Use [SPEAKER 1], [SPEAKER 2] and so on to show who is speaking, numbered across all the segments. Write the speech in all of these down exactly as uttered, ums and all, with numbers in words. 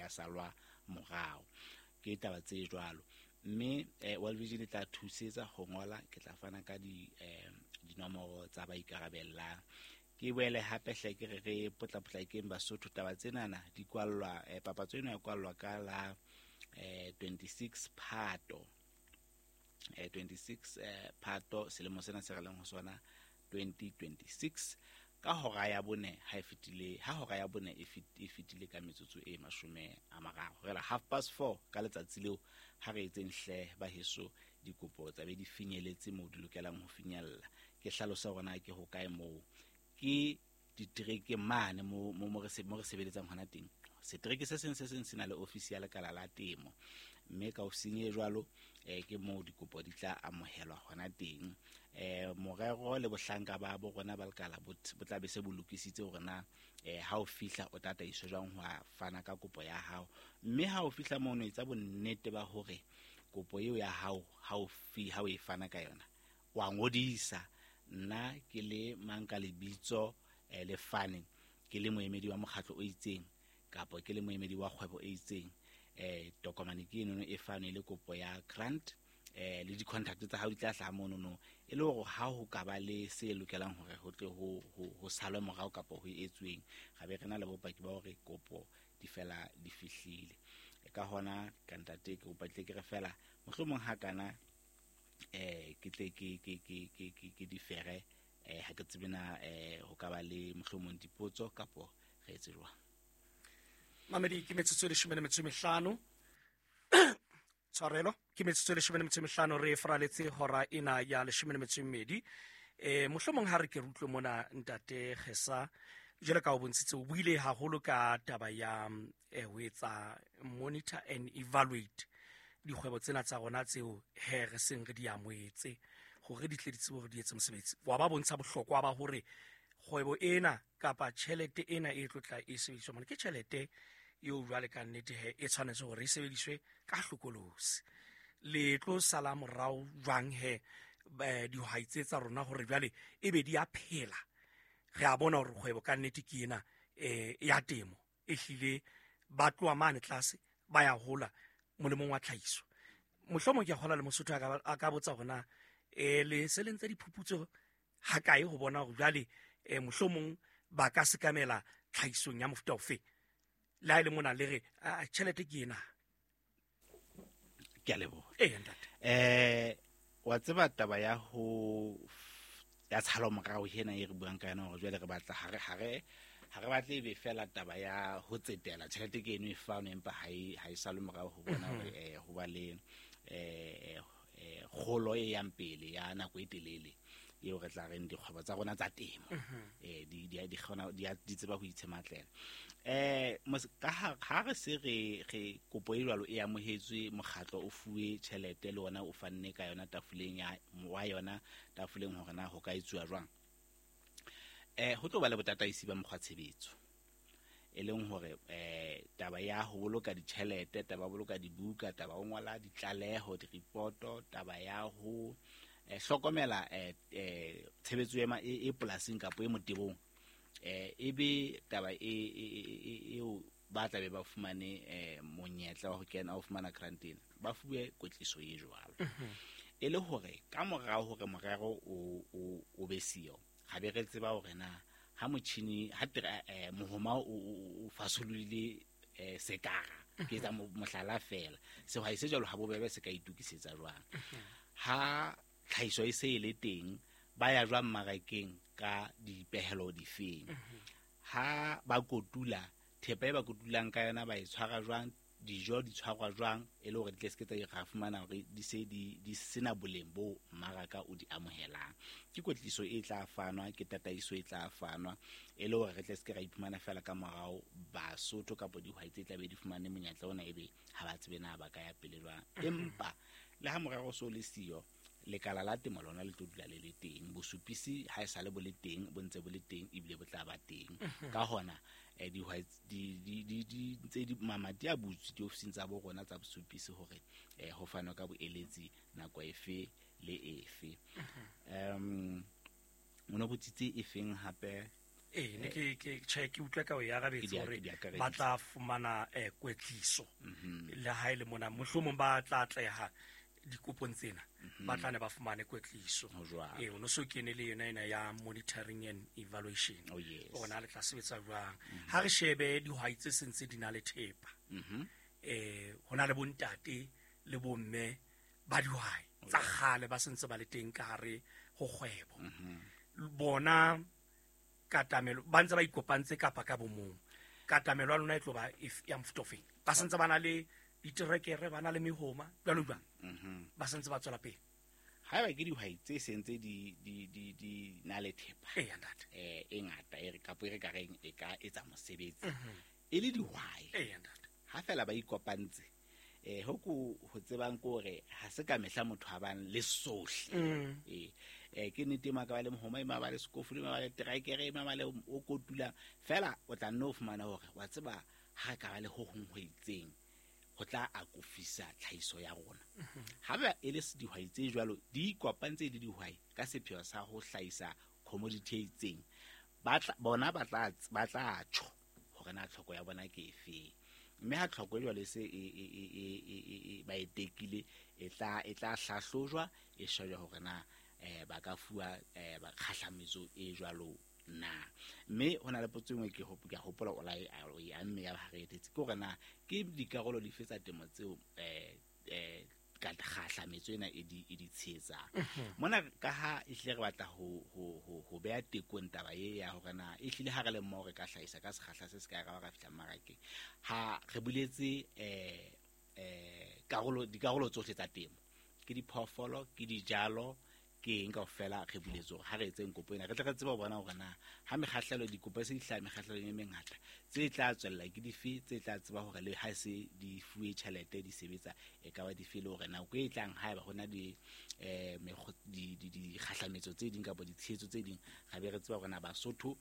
[SPEAKER 1] ya salwa morao. Ke taba tse jwalo. Mme eh, World Vision e tla thusetsa ho ngola, ke tla fana ka di eh, dinomoro tsa ba ikarabellang. Ke boele hape hle ke re re potlapotlakeng Basotho, taba tsenana di kwallwa, eh, papatso ena e kwallwa ka la eh, twenty-six Phato. Eh, twenty-six, eh, Phato selemo sena se re leng ho sona twenty twenty-six ka hora ya bone ha e fetile, ha hora ya bone e fit-, e fetile ka metsotso e mashome a mararo. Re la half past four ka letsatsi leo, ha re etseng hle ba heso dikopo tsa be di finyeletse moo di lokelang ho finyella. Ke hlalosa hore na ke hokae moo, ke ditereke mane mo, mo, mo re se-, mo re sebeletsang hona teng. Setereke se seng se seng se na le ofisi ya lekala la temo, mme ka ofising e jwalo, eh, ke moo dikopo di tla amohelwa hona teng. Eh, morero le bohlanka ba bo rona ba lekala bo t-, bo tla be se bo lokisitse hore na, eh, ha o fihla o tataiswe jwang ho a fana ka kopo ya hao. Mme ha o fihla mono, etsa bonnete ba hore kopo eo ya hao, ha o fi-, ha o e fana ka yona, wa ngodisa. Nna ke le mang ka lebitso, eh, le fane, ke le moemedi wa mokgatlo o itseng kapa ke le moemedi wa kgwebo e itseng, eh, tokomane ke enono e fanwe le kopo ya grant, eh, le di-contact tsa hao di tla hlaha monono, e le hore ha ho ka ba le se lokelang hore ho tle ho, ho, ho salwe morao kapa ho etsweng, ra be re na le bopaki ba hore kopo di fela di fihlile. E ka hona, ka ntate, ke kopa tle ke re fela, mohlomong ha kana, eh, ke tle ke, ke, ke, ke, ke, ke di fere, eh, ha ke tsebe na, eh, ho ka ba le mohlomong dipotso kapo re etse jwang.
[SPEAKER 2] Mamedi, ke metsotso e leshome le metso e mehlano. Tshwarelo, ke metsotso e leshome le metso e mehlano re fraletse hora ena ya leshome le metso e mmedi. Eh, mohlomong ha re ke re utlwe mona ntate Kgesa, jwalo ka o bontshitse, o buile haholo ka taba ya, eh, ho etsa monitor and evaluate dikgwebo tsena tsa rona tseo he re seng re di amohetse hore di tle di tsebe hore di etse mosebetsi. Wa ba bontsha bohlokwa ba hore kgwebo ena kapa tjhelete ena e tlo tla e sebediswa mona ke tjhelete eo jwale ka nnete he e tshwanetse hore e sebediswe ka hlokolosi. Le tlo sala morao jwang he, eh, dihwai tse tsa rona hore jwale e be di a phela. Re a bona hore kgwebo ka nnete ke ena, eh, ya temo e hlile ba tloha mane tlase ba ya hola molemong wa tlhahiso. Mohlomong ke a kgolwa le Mosotho a ka, a ka botsa hore na, eh, le se le ntse diphuputso ha kae ho bona hore jwale, eh, mohlomong ba ka sekamela tlhahisong ya mofuta ofe. Le ha e le mona le re, ah, tjhelete ke ena.
[SPEAKER 1] Ke a leboha.
[SPEAKER 2] Ee, ntate.
[SPEAKER 1] Eh, wa tseba taba ya ho ya tshalo morao hena e re buang ka yona hore jwale re batla ha re, ha re, ha re batle ebe fela taba ya ho tsetela tjhelete ke eno e fanwe empa ha e, ha e salwe morao ho bona hore,
[SPEAKER 2] Mhm.
[SPEAKER 1] eh, ho ba le, eh, eh, kgolo e yang pele ya nako e telele eo re tla reng dikgwebo tsa rona tsa temo,
[SPEAKER 2] Mhm.
[SPEAKER 1] eh, di, di, di kgona, di a, di tseba ho itshematlela. Eh, mos-, ka ha, ha re se re, re kopo e jwalo e amohetswe, mokgatlo o fuwe tjhelete le ona o fanne ka yona tafoleng ya, wa yona tafoleng hore na ho ka etsuwa jwang. Eh, ho tlo ba le botataisi ba mokgwa tshebetso, e leng hore, eh, taba ya ho boloka ditjhelete, taba ya ho boloka dibuka, taba ya ho ngola ditlaleho, diripoto, taba ya ho, eh, hlokomela, eh, eh, tshebetso e ma-, e, e polasing kapa e motebong, eh, e be taba e, e, e, e, eo ba tla be ba fumane, eh, monyetla wa ho kena, wa ho fumana grant ena, ba fuwe kwetliso e jwalo.
[SPEAKER 2] Mhm.
[SPEAKER 1] E le hore ka morao hore morero o, o, o be siyo, ga be re tseba hore na ha motjhini, ha tere, eh, mohoma o, o, o fasolohile, eh, sekara, ke etsa mo-, mohlala fela, sehwai se jwalo ha bobebe se ka itokisetsa jwang.
[SPEAKER 2] Mhm.
[SPEAKER 1] Ha tlhahiso e se e le teng, ba ya jwang mmarakeng ka dipehelo difeng?
[SPEAKER 2] Mhm.
[SPEAKER 1] Ha ba kotula, thepa e ba kotulang ka yona ba e tshwara jwang, dijo di tshwarwa jwang, e le hore di tle se ke tsa ra fumana hore di se di, di sena boleng bo mmaraka o di amohelang. Ke kwetliso e tla fanwa, ke tataiso e tla fanwa, e le hore re tle se ke ra iphumana fela ka morao Basotho kapa dihwai tse tla be di fumane monyetla ona ebe ha ba tsebe na ba ka ya pele jwang.
[SPEAKER 2] Mhm.
[SPEAKER 1] Empa le ha morero so le siyo, lekala la temo lona le tlo dula le le teng. Bosupisi ha e sale bo le teng, bo ntse bo le teng ebile bo tla ba teng.
[SPEAKER 2] Mhm.
[SPEAKER 1] Ka hona, eh, dihwai di, di, di, di, ntse di, mamati a butswe diofising tsa bo rona tsa bosupisi hore, eh, ho fanwe ka boeletsi nako efe le efe.
[SPEAKER 2] Mhm.
[SPEAKER 1] Em, o no botsitse e feng hape?
[SPEAKER 2] Ee, ne ke ke tjhe ke utlwa ka o e arabetse
[SPEAKER 1] Ke di-
[SPEAKER 2] hore
[SPEAKER 1] ke di akareditse.
[SPEAKER 2] ba tla fumana eh, kwetliso le ha e le mona mohlomong ba tla atleha dikopong tsena ba tla ne ba fumane kwetliso.
[SPEAKER 1] Ho jwalo.
[SPEAKER 2] Ee, o no so kene le yona ena ya monitoring and evaluation.
[SPEAKER 1] Oh, yes.
[SPEAKER 2] Ona le tla sebetsa jwang ha re shebe dihwai tse sentse di na le thepa? Eh, ho na le bontate le bomme ba dihwai tsa kgale ba sentse ba le teng ka hare ho kgwebo. Bona katamelo ba ntse ba ikopantse kapa ka bomong, katamelo ya lona e tlo ba ef- ya mofuta ofeng? Ba sentse ba na le diterekere, ba na le mehoma, jwalo jwalo, ba sentse ba tswela pele?
[SPEAKER 1] Haeba ke dihwai tse sentse di di di di na le thepa
[SPEAKER 2] Eya ntate.
[SPEAKER 1] eh e ngata e re kapo e re ka reng e ka etsa mosebetsi e le dihwai,
[SPEAKER 2] Eya ntate.
[SPEAKER 1] ha fela ba ikopantse, eh ho ko ho tsebang ke hore ha se ka mehla motho a bang le sohle. Eh eh ke nnete, e maka ba le mohoma, e ma ba le sekofu, e ma ba le terekere, e ma ba le o kotulang fela, o tla nne o fumana hore wa tseba ha re ka ba le ho hong ho itseng ho tla akofisa tlhahiso ya rona. Ha ba e le s- dihwai tse jwalo di ikopantse le dihwai ka sepheo sa ho hlahisa commodity e itseng, ba tla bona ba tla ba tla tjho hore na tlhoko ya bona ke efeng, mme ha tlhoko e jwalo e se e e e e e e e ba e tekile, e tla e tla hlahlojwa, e shejwa hore na eh ba ka fuwa eh ba kgahlametso e jwalo na. Mme ho na le potso e nngwe ke hop- ke a hopola o la e o e amme ya ba ha re etetse, ke hore na ke dikarolo dife tsa temo tseo eh eh ka kgahlametso ena e di e di tshehetsang mona, ka ha ehlile re batla ho ho ho ho beha tekong taba e ya hore na ehlile ha re le mmoho re ka hlahisa ka sekgahla se se kae, ra ba ra fihla mmarakeng. Ha re buletse eh eh karolo dikarolo tsohle tsa temo, ke diphoofolo, ke dijalo, ke eng kaofela, re buletse hore ha re etseng kopo ena re tle re tsebe ho bona hore na ha mekgahlelo dikopo e se di hlaha mekgahlelong e mengata, tse tla tswella ke dife, tse tla tseba hore le ha se di fuwe tjhelete di sebetsa e ka ba dife, le hore nako e tlang haeba ho na le eh mekgo- di di dikgahlametso tse ding kapa ditshehetso tse ding, ra be re tseba hore na Basotho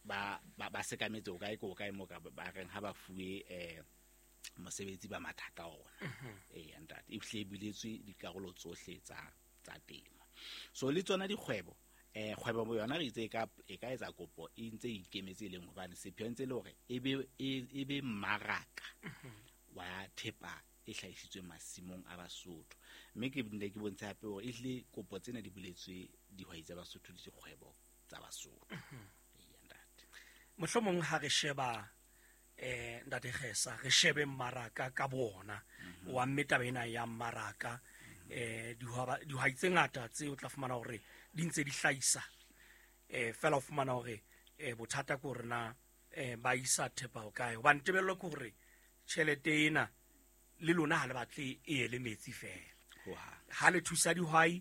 [SPEAKER 1] ba ba ba sekametse ho kae, ke ho kae moo ka ba reng ha ba fuwe eh mosebetsi ba matha ka ona. Ee ntate, e hlile e buletswe dikarolo tsohle tsa tsa temo. So le tsona dikgwebo, eh kgwebo bo yona re itse e ka e ka etsa kopo e ntse e ikemetse, e leng hobane sepheo ntse e le hore e be e e be mmaraka wa thepa e hlahisitsweng masimong a Basotho. Mme ke nne ke bontshe hape hore ehlile kopo tsena di buletswe dihwai tsa Basotho le dikgwebo tsa Basotho. Eya ntate.
[SPEAKER 2] Mohlomong ha re sheba eh ntate Kgesa, re shebe mmaraka ka bona wa mme taba ena ya mmaraka, eh dihwaba dihwai tse ngata tse o tla fumana hore di ntse di hlahisa, eh fela o fumana hore eh bothata ke hore na eh ba isa thepa ho kae, hobane tebello ke hore tjhelete ena le lona ha le batle e ye le metsi fela.
[SPEAKER 1] Ho hang.
[SPEAKER 2] Ha le thusa dihwai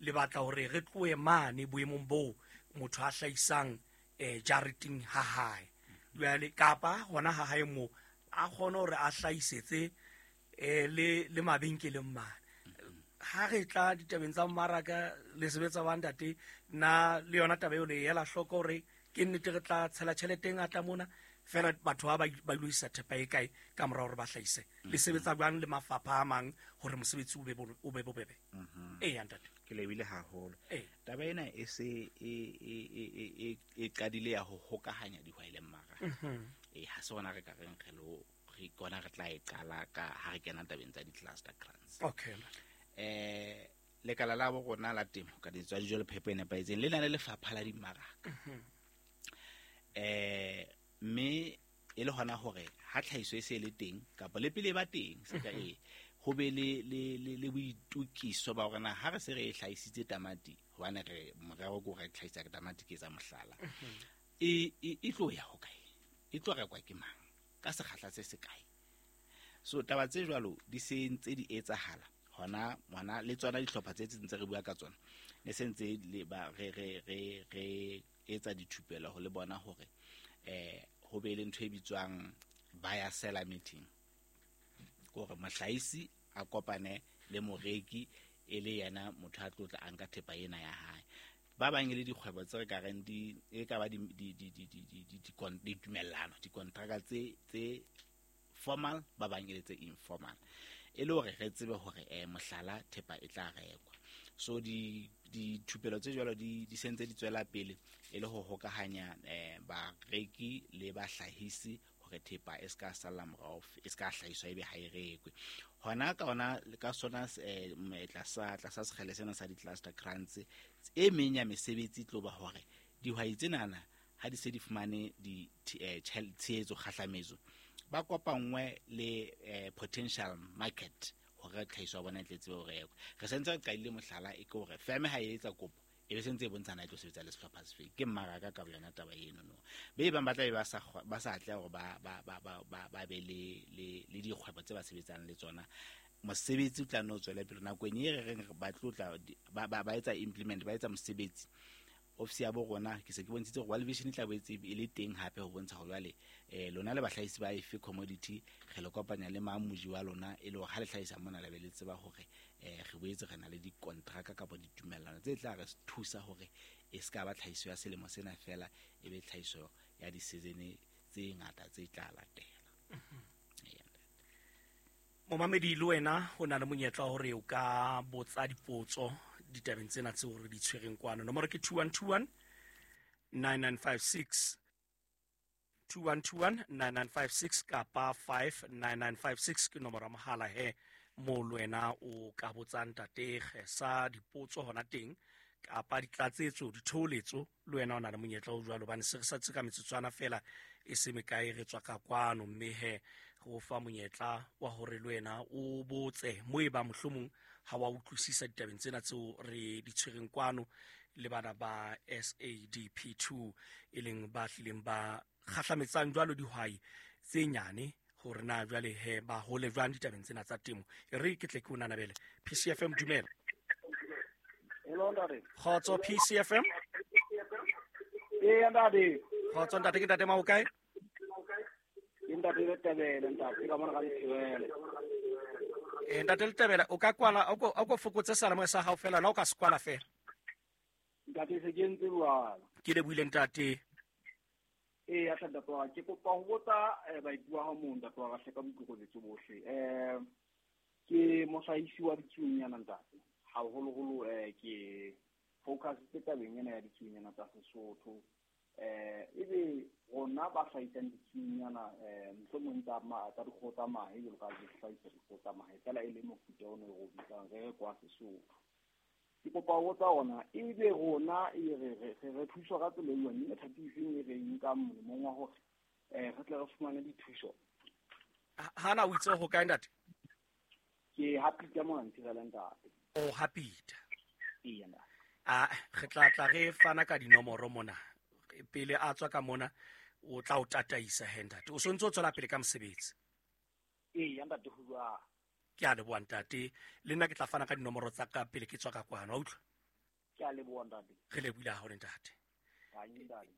[SPEAKER 2] le batla hore re tlohe mane boemong boo motho a hlahisang eh jareteng ha hae jwale, kapa hona ha hae moo a kgone hore a hlahisetse eh le le mabenkeleng mane. Ha re tla ditabeng tsa mmaraka le sebetsa ba ntate, na le yona taba eo le e ela hloko hore ke nnete re tla tshela tjhelete e ngata mona fela batho ba ba ba ilo isa thepa e kae ka mora hore ba hlahise? Le sebetsa jwang le mafapha a mang hore mosebetsi o be bo- o be bobebe? Eya ntate.
[SPEAKER 1] Ke lebile haholo.
[SPEAKER 2] Ee.
[SPEAKER 1] Taba ena e se e e e e e e qadile ya ho hokahanya dihwai le mmaraka. Eh ha se hona re ka reng re lo re kona re tla e qala ka ha re kena tabeng tsa di-cluster grants.
[SPEAKER 2] Okay.
[SPEAKER 1] Eh lekala la bo rona la temo ka ditswa dijo le phepo e nepahetseng le na le lefapha la dimmaraka. Eh mme e le hona hore ha tlhahiso e se le teng kapa le pele e ba teng se ka e ho be le le le le boitukiso ba hore na ha re se re e hlahisitse tamati, hobane re morero ke hore re hlahisa tamati, ke etsa mohlala, e e e tlo ya hokae, e tlo rekwa ke mang, ka sekgahla se se kae. So taba tse jwalo di se ntse di etsahala hona hona le tsona dihlopha tse ntse re bua ka tsona ne se ntse le ba re re re re etsa dithupelo ho le bona hore eh ho be le ntho e bitswang buyer seller meeting, hore mohlahisi a kopane le moreki e le yena motho a tlo tla a nka thepa ena ya hae. Ba bang e le dikgwebo tse re ka reng di e ka ba di di di di di di di di ditumellano, dikontraka tse tse formal, ba bang e le tse informal. E le hore re tsebe hore eh mohlala thepa e tla rekwa. So di dithupelo tse jwalo di di sentse di tswela pele e le ho hokahanya eh bareki le bahlahisi hore thepa e ska sala morao, e ska hlahiswa ebe ha e rekwe. Hona ka ona ka sona eh tlasa tlasa sekgele sena sa di-cluster grants e meng ya mesebetsi tlo ba hore dihwai tsenana ha di se di fumane di tshehetso kgahlametso ba kopanngwe le potential market hore tlhahiso ya bona e tle tsebe ho rekwa. Re sentse re qadile mohlala e ke hore firm ha e etsa kopo e be sentse e bontshana e tlo sebetsa le sehlopha sefe, ke mmaraka ka yona taba eno no. Be bang ba tla be ba sa ba sa atleha hore ba ba ba ba ba be le le le dikgwebo tse ba sebetsang le tsona. Mosebetsi o tla no tswela pele nakong e re reng ba tlo tla ba ba etsa implement, ba etsa mosebetsi. Ofisi ya bo rona ke se ke bontshitse hore World Vision e tla boetse e le teng hape ho bontsha hore jwale eh lona le bahlahisi ba efe commodity re le kopanya le mang moji wa lona e le hore ha le hlahisa mona le be le tseba hore eh re boetse re na le dikontraka kapa ditumellano tse tla re thusa hore e ska ba tlhahiso ya selemo sena fela, e be tlhahiso ya di-season tse ngata tse tla latela.
[SPEAKER 2] Momamedi le wena o na le monyetla hore o ka botsa dipotso ditabeng tsena tseo re di tshwereng kwano. Nomoro ke two one two one nine nine five six, two one two one nine nine five six kapa five nine nine five six ke nomoro ya mohala he mo le wena o ka botsang ntate Kgesa dipotso hona teng kapa ditlatsetso, ditholetso. Le wena o na le monyetla o jwalo hobane se re sa tse ka metsotswana fela e se mekae re tswa ka kwano, mme he go fa monyetla wa hore le wena o botse mo e ba mohlomong ha wa utlwisisa ditabeng tsena tseo re di tshwereng kwano le bana ba S A D P two e leng ba hlileng ba kgahlametsang jwalo dihwai tse nyane hore na jwale he ba hole jwang ditabeng tsena tsa temo. E re ke tle ke o nanabele. P C F M dumela.
[SPEAKER 3] Hello ntate.
[SPEAKER 2] Kgotso P C F M.
[SPEAKER 3] Eh ntate.
[SPEAKER 2] Kgotso ntate, ke ntate ma o kae?
[SPEAKER 3] Ke ntate Letebele ntate, ka mona ga Letebele.
[SPEAKER 2] Eh ntate Letebele, o ka kwala o ko o ko fokotse seyalemoya sa hao fela, la o ka se kwala fela.
[SPEAKER 3] Ntate se ke ntse jwalo.
[SPEAKER 2] Ke lebohile ntate.
[SPEAKER 3] Eh ya ntate wa ke kopa ho botsa baeti wa ha mong ntate wa ka hleka boikokobetso bohle. Eh ke mohlahisi wa ditsuonyana ntate. Haholoholo eh ke focus tse tabeng ena ya ditsuonyana tsa Sesotho. Eh ebe rona ba hlahisang ditsuonyana eh mohlomong tsa ma tsa dikgoho tsa mahe jwalo ka di hlahisa dikgoho tsa mahe fela e le mofuta ono re o bitsang re re kwa Sesotho. Ke kopa ho botsa hona ebe rona e re re re thuswa ka tsela e jwang, e thatiseng e re nkang molemong wa hore eh re tle re fumane dithuso.
[SPEAKER 2] Hana o itse ho kae ntate?
[SPEAKER 3] Ke Hapita mona Ntirela ntate.
[SPEAKER 2] O Hapita.
[SPEAKER 3] Ee ntate.
[SPEAKER 2] Ah re tla tla re fana ka dinomoro mona. Pele a tswa ka mona o tla o tataisa he ntate. O sontse o tswela pele ka mosebetsi.
[SPEAKER 3] Ee ntate ho jwang.
[SPEAKER 2] Ke a leboha ntate. Le nna ke tla fana ka dinomoro tsa ka pele ke tswa ka kwano, wa utlwa?
[SPEAKER 3] Ke a leboha ntate.
[SPEAKER 2] Re lebohile haholo ntate.
[SPEAKER 3] Hai ntate.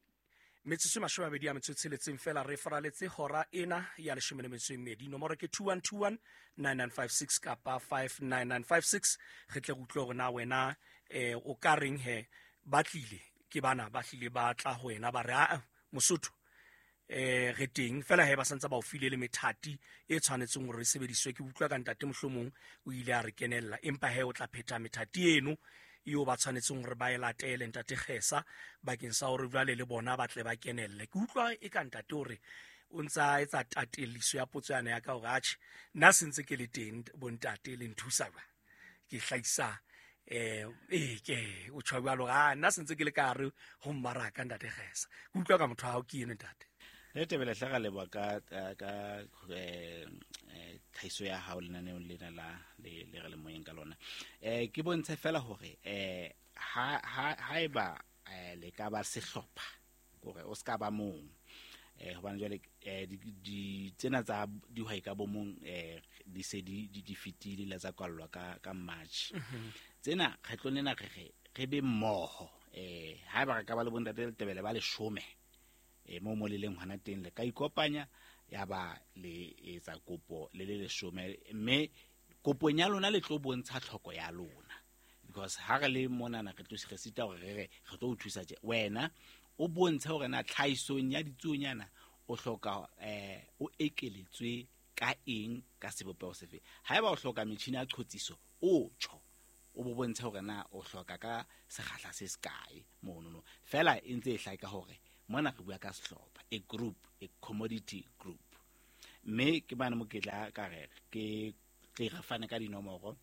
[SPEAKER 2] Metsotso e mashome a mabedi a metso e tsheletseng fela re faraletse hora ena ya leshome le metso e mmedi. Nomoro ke two one two one nine nine five six kapa five nine nine five six. Re tle re utlwe hore na wena eh o ka reng he ba tlile ke bana ba hlile ba tla ho wena ba re a Mosotho eh re teng fela he ba santse ba o file le methati e tshwanetseng hore e sebediswe. Ke utlwa ka ntate mohlomong o ile a re kenella, empa he o tla phetha methati eno eo ba tshwanetseng hore ba e latele ntate Kgesa bakeng sa hore jwale le bona ba tle ba kenelle. Ke utlwa e ka ntate hore o ntsa etsa tateliso ya potso yana ya ka hore atjhe nna sentse ke le teng bontate le nthusa ba ke hlahisa eh eh ke o tjho jwalo ha nna sentse ke le ka hare ho mmaraka ntate Kgesa. Ke utlwa ka motho wa hao ke eno ntate.
[SPEAKER 1] Letebele hle ra leboha ka ka eh tlhahiso ya hao lenaneong lena la le le re le moyeng ka lona. Eh ke bontshe fela hore eh ha ha haeba le ka ba sehlopha hore o ska ba mong eh hobane jwale eh di tsena tsa dihwai ka bomong eh di se di di fitile la tsa kwallwa ka ka March. Tsena kgetlong lena re re re be mmoho eh haeba re ka ba le bontate Letebele ba leshome e mo mo le leng hona teng le ka ikopanya ya ba le etsa kopo le le leshome, mme kopong ya lona le tlo bontsha tlhoko ya lona because ha re le monana re tlo re sita hore re re re tlo o thusa tje wena o bontshe hore na tlhahisong ya ditsuonyana o hloka eh o ekeletswe Ka eng, ka sebopeho sefe. Haeba o hloka metjhini ya qhotsiso, o tjho, o bo bontshe hore na o hloka ka sekgahla se sekae monono. Feela e ntse e hlaka hore mona re bua ka sehlopha, a group, a commodity group. Mme ke bana mo ke tla ka re ke tle re fane ka dinomoro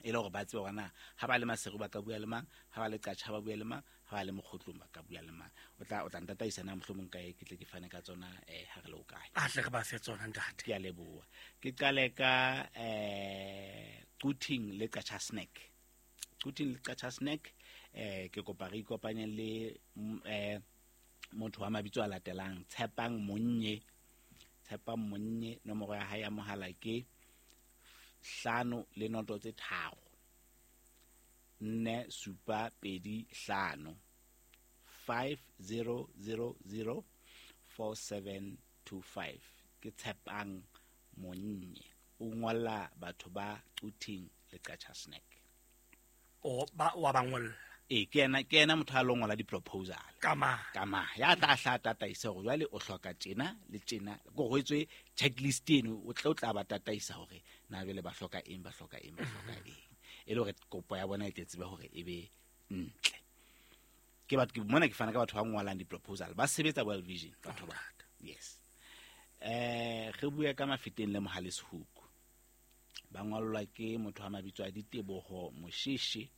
[SPEAKER 1] e le hore ba tsebe hore na ha ba le Maseru ba ka bua le mang, ha ba le Qacha ba bua le mang, ha ba le Mokgotlong ba ka bua le mang. O tla o tla ntataisa na mohlomong kae ke tle ke fane ka tsona eh ha re le o kae.
[SPEAKER 2] A tle re ba fe tsona ntate.
[SPEAKER 1] Ke a leboha. Ke qale ka eh Quthing le Qacha Snack. Quthing le Qacha Snack eh ke kopa re ikopanye le eh motho wa mabitso a latelang, Tshepang Monnye. Tshepang Monnye, nomoro ya hae ya mohala ke hlano le noto tse tharo nne supa pedi hlano, five zero zero zero four seven two five. Ke Tshepang Monnye, o ngolla batho ba Quthing le Qacha Snack.
[SPEAKER 2] O ba wa ba ngolla?
[SPEAKER 1] E ke yena, ke yena motho a lo ngola di-proposal.
[SPEAKER 2] Ka ma?
[SPEAKER 1] Ka ma. Ya tla hla tataisa hore jwale o hloka tjena le tjena. Ko ho etswe checklist eno, o tla o tla ba tataisa hore na jwale ba hloka eng, ba hloka eng, ba hloka eng. E le hore kopo ya bona e tle tsebe hore e be ntle. Ke batho, ke mona ke fana ka batho ba ngolang di-proposal, ba sebetsa World Vision batho ba. Yes. Eh re bua ka Mafeteng le Mohale Sehuku. Ba ngollwa ke motho wa mabitso a Diteboho Mosheshe.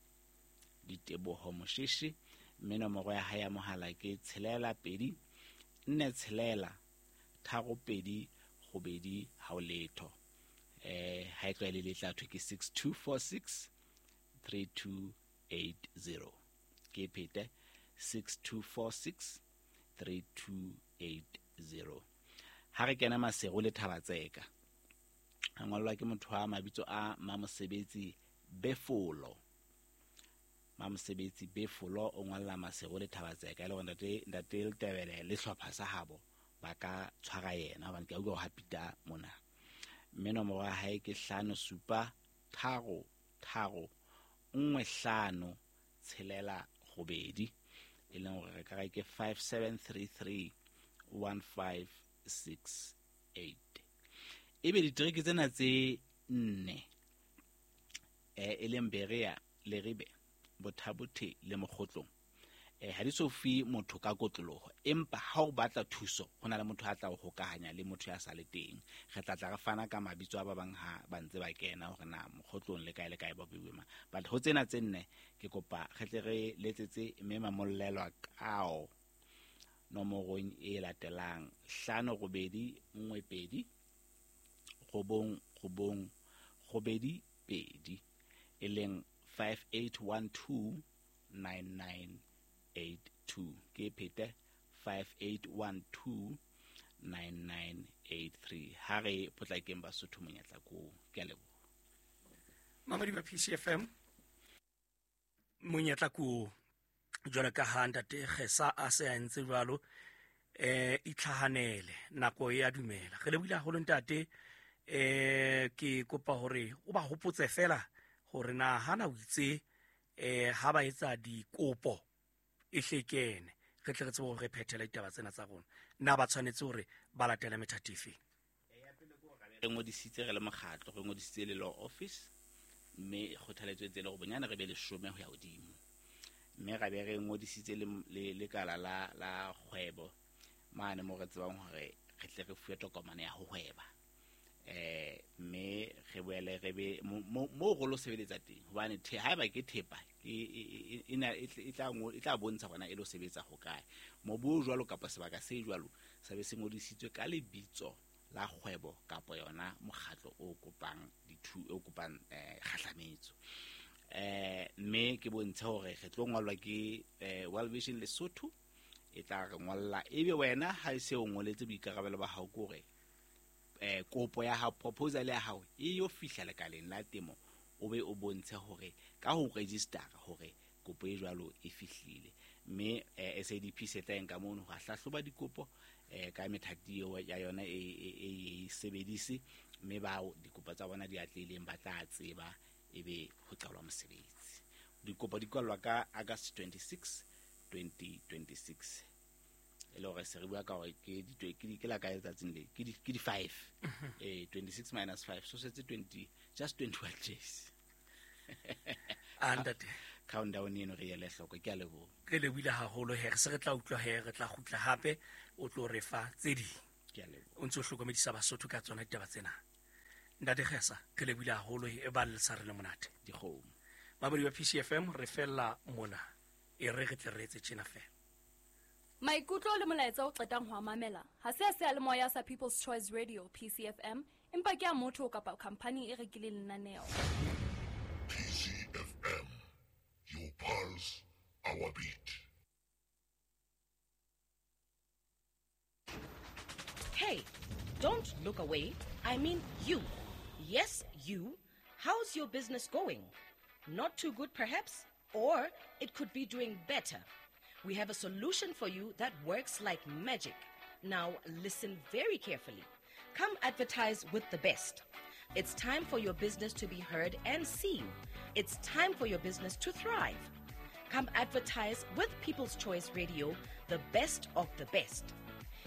[SPEAKER 1] Diteboho Mosheshe, mme nomoro ya hae ya mohala ke tshelela pedi nne tshelela tharo pedi robedi ha o letho. Eh ha e tlwaele le tla thwe ke six two four six three two eight zero. Ke phete six two four six three two eight zero. Ha re kena Maseru le Thabatseka, a ngollwa ke motho wa mabitso a Mamosebetsi Befolo. Mamosebetsi Befolo o ngolla Maseru le Thabatseka, e le hore ntate, ntate Letebele le hlopha sa habo ba ka tshwara yena hobane ke a utlwa ho hapita mona. Mme nomoro ya hae ke hlano supa tharo tharo nngwe hlano tshelela robedi, e leng hore re ka re ke five seven three three one five six eight. Ebe ditereke tsena tse nne, eh, e leng Berea, Leribe, Bothabothe le Mokgotlong, eh, ha di so fi motho ka kotloloho, empa ha o batla thuso ho na le motho a tla o hokahanya le motho ya sa le teng. Re tla tla re fana ka mabitso a ba bang ha ba ntse ba kena hore na Mokgotlong le kae le kae ba buwe mang. But ho tsena tse nne ke kopa re tle re letsetse mme mamollelwa kao nomorong e latelang hlano robedi nngwe pedi robong robong robedi pedi, e leng five eight one two nine nine eight two. Ke phete five eight one two nine nine eight three. Ha re potlakeng Basotho monyetla ko. Ke a leboha.
[SPEAKER 2] Mamedi ba P C F M, monyetla ko jwalo ka ha ntate Kgesa a se a entse jwalo, eh itlhahanele, nako e a dumela. Re lebohile haholo ntate. Eh ke kopa hore o ba hopotse fela hore na hana o itse eh ha ba etsa dikopo e hlekene, re tle re tsebe hore re phethele ditaba tsena tsa rona. Na ba tshwanetse hore ba latele methati efe?
[SPEAKER 1] Re ngodisitse re le mokgatlo, re ngodisitse le law office, mme kgothaletso e tsele hore bonyane re be leshome ho ya hodimo. Mme ra be re ngodisitse le, le lekala la, la kgwebo mane mo re tsebang hore re tle re fuwe tokomane ya ho hweba. Eh mme re boele re be mo, mo, mo re lo sebeletsa teng, hobane the-, haeba ke thepa, ke, e, e, e, e, e, e tla ngo-, e tla bontsha hore na e lo sebetsa hokae. Mobu o jwalo kapa sebaka se jwalo sa be se ngodisitswe ka lebitso la kgwebo kapa yona mokgatlo o kopang dithu-, o kopang, eh, kgahlametso. Eh, mme ke bontshe hore re tlo ngolwa ke, eh, World Vision Lesotho, e tla re ngolla. Ebe wena ha e se o ngoletse boikarabelo ba hao ke hore, eh, kopo ya hao, proposal ya hao e yo fihla lekaleng la temo, o be o bontshe hore ka ho register hore kopo e jwalo e fihlile. Mme, eh, S A D P se tla nka mono ho hlahloba dikopo, eh, ka methati eo ya yona e, e, e, e sebedise, mme bao dikopo tsa bona di atlehileng ba tla tseba ebe ho qalwa mosebetsi. Dikopo di kwallwa ka August twenty-six, twenty twenty-six. E le hore se re bua ka hore ke di ke di ke la kae letsatsing le ke di ke di five. Eh twenty-six minus five so setse twenty just twenty-one days.
[SPEAKER 2] A ntate
[SPEAKER 1] countdown eno re ele hloko, ke a leboha.
[SPEAKER 2] Re lebohile haholo he, re se re tla utlwa he, re tla kgutla hape o tlo re fa tse ding.
[SPEAKER 1] Ke a leboha.
[SPEAKER 2] O ntso hlokomedisa Basotho ka tsona ditaba tsena. Ntate Kgesa, re lebohile haholo he, e ba le sa re le monate.
[SPEAKER 1] Dikgomo.
[SPEAKER 2] Mamedi wa P C F M re fella mona. E re re tle re etse tjena fela.
[SPEAKER 4] Maikutlo le molaetsa o qetang ho a mamela ha se a seyalemoya sa People's Choice Radio P C F M, empa ke a motho kapa khampani e rekileng lenaneo.
[SPEAKER 5] P C F M, your pulse, our beat.
[SPEAKER 6] Hey, don't look away. I mean you. Yes, you. How's your business going? Not too good, perhaps? Or it could be doing better. We have a solution for you that works like magic. Now, listen very carefully. Come advertise with the best. It's time for your business to be heard and seen. It's time for your business to thrive. Come advertise with People's Choice Radio, the best of the best.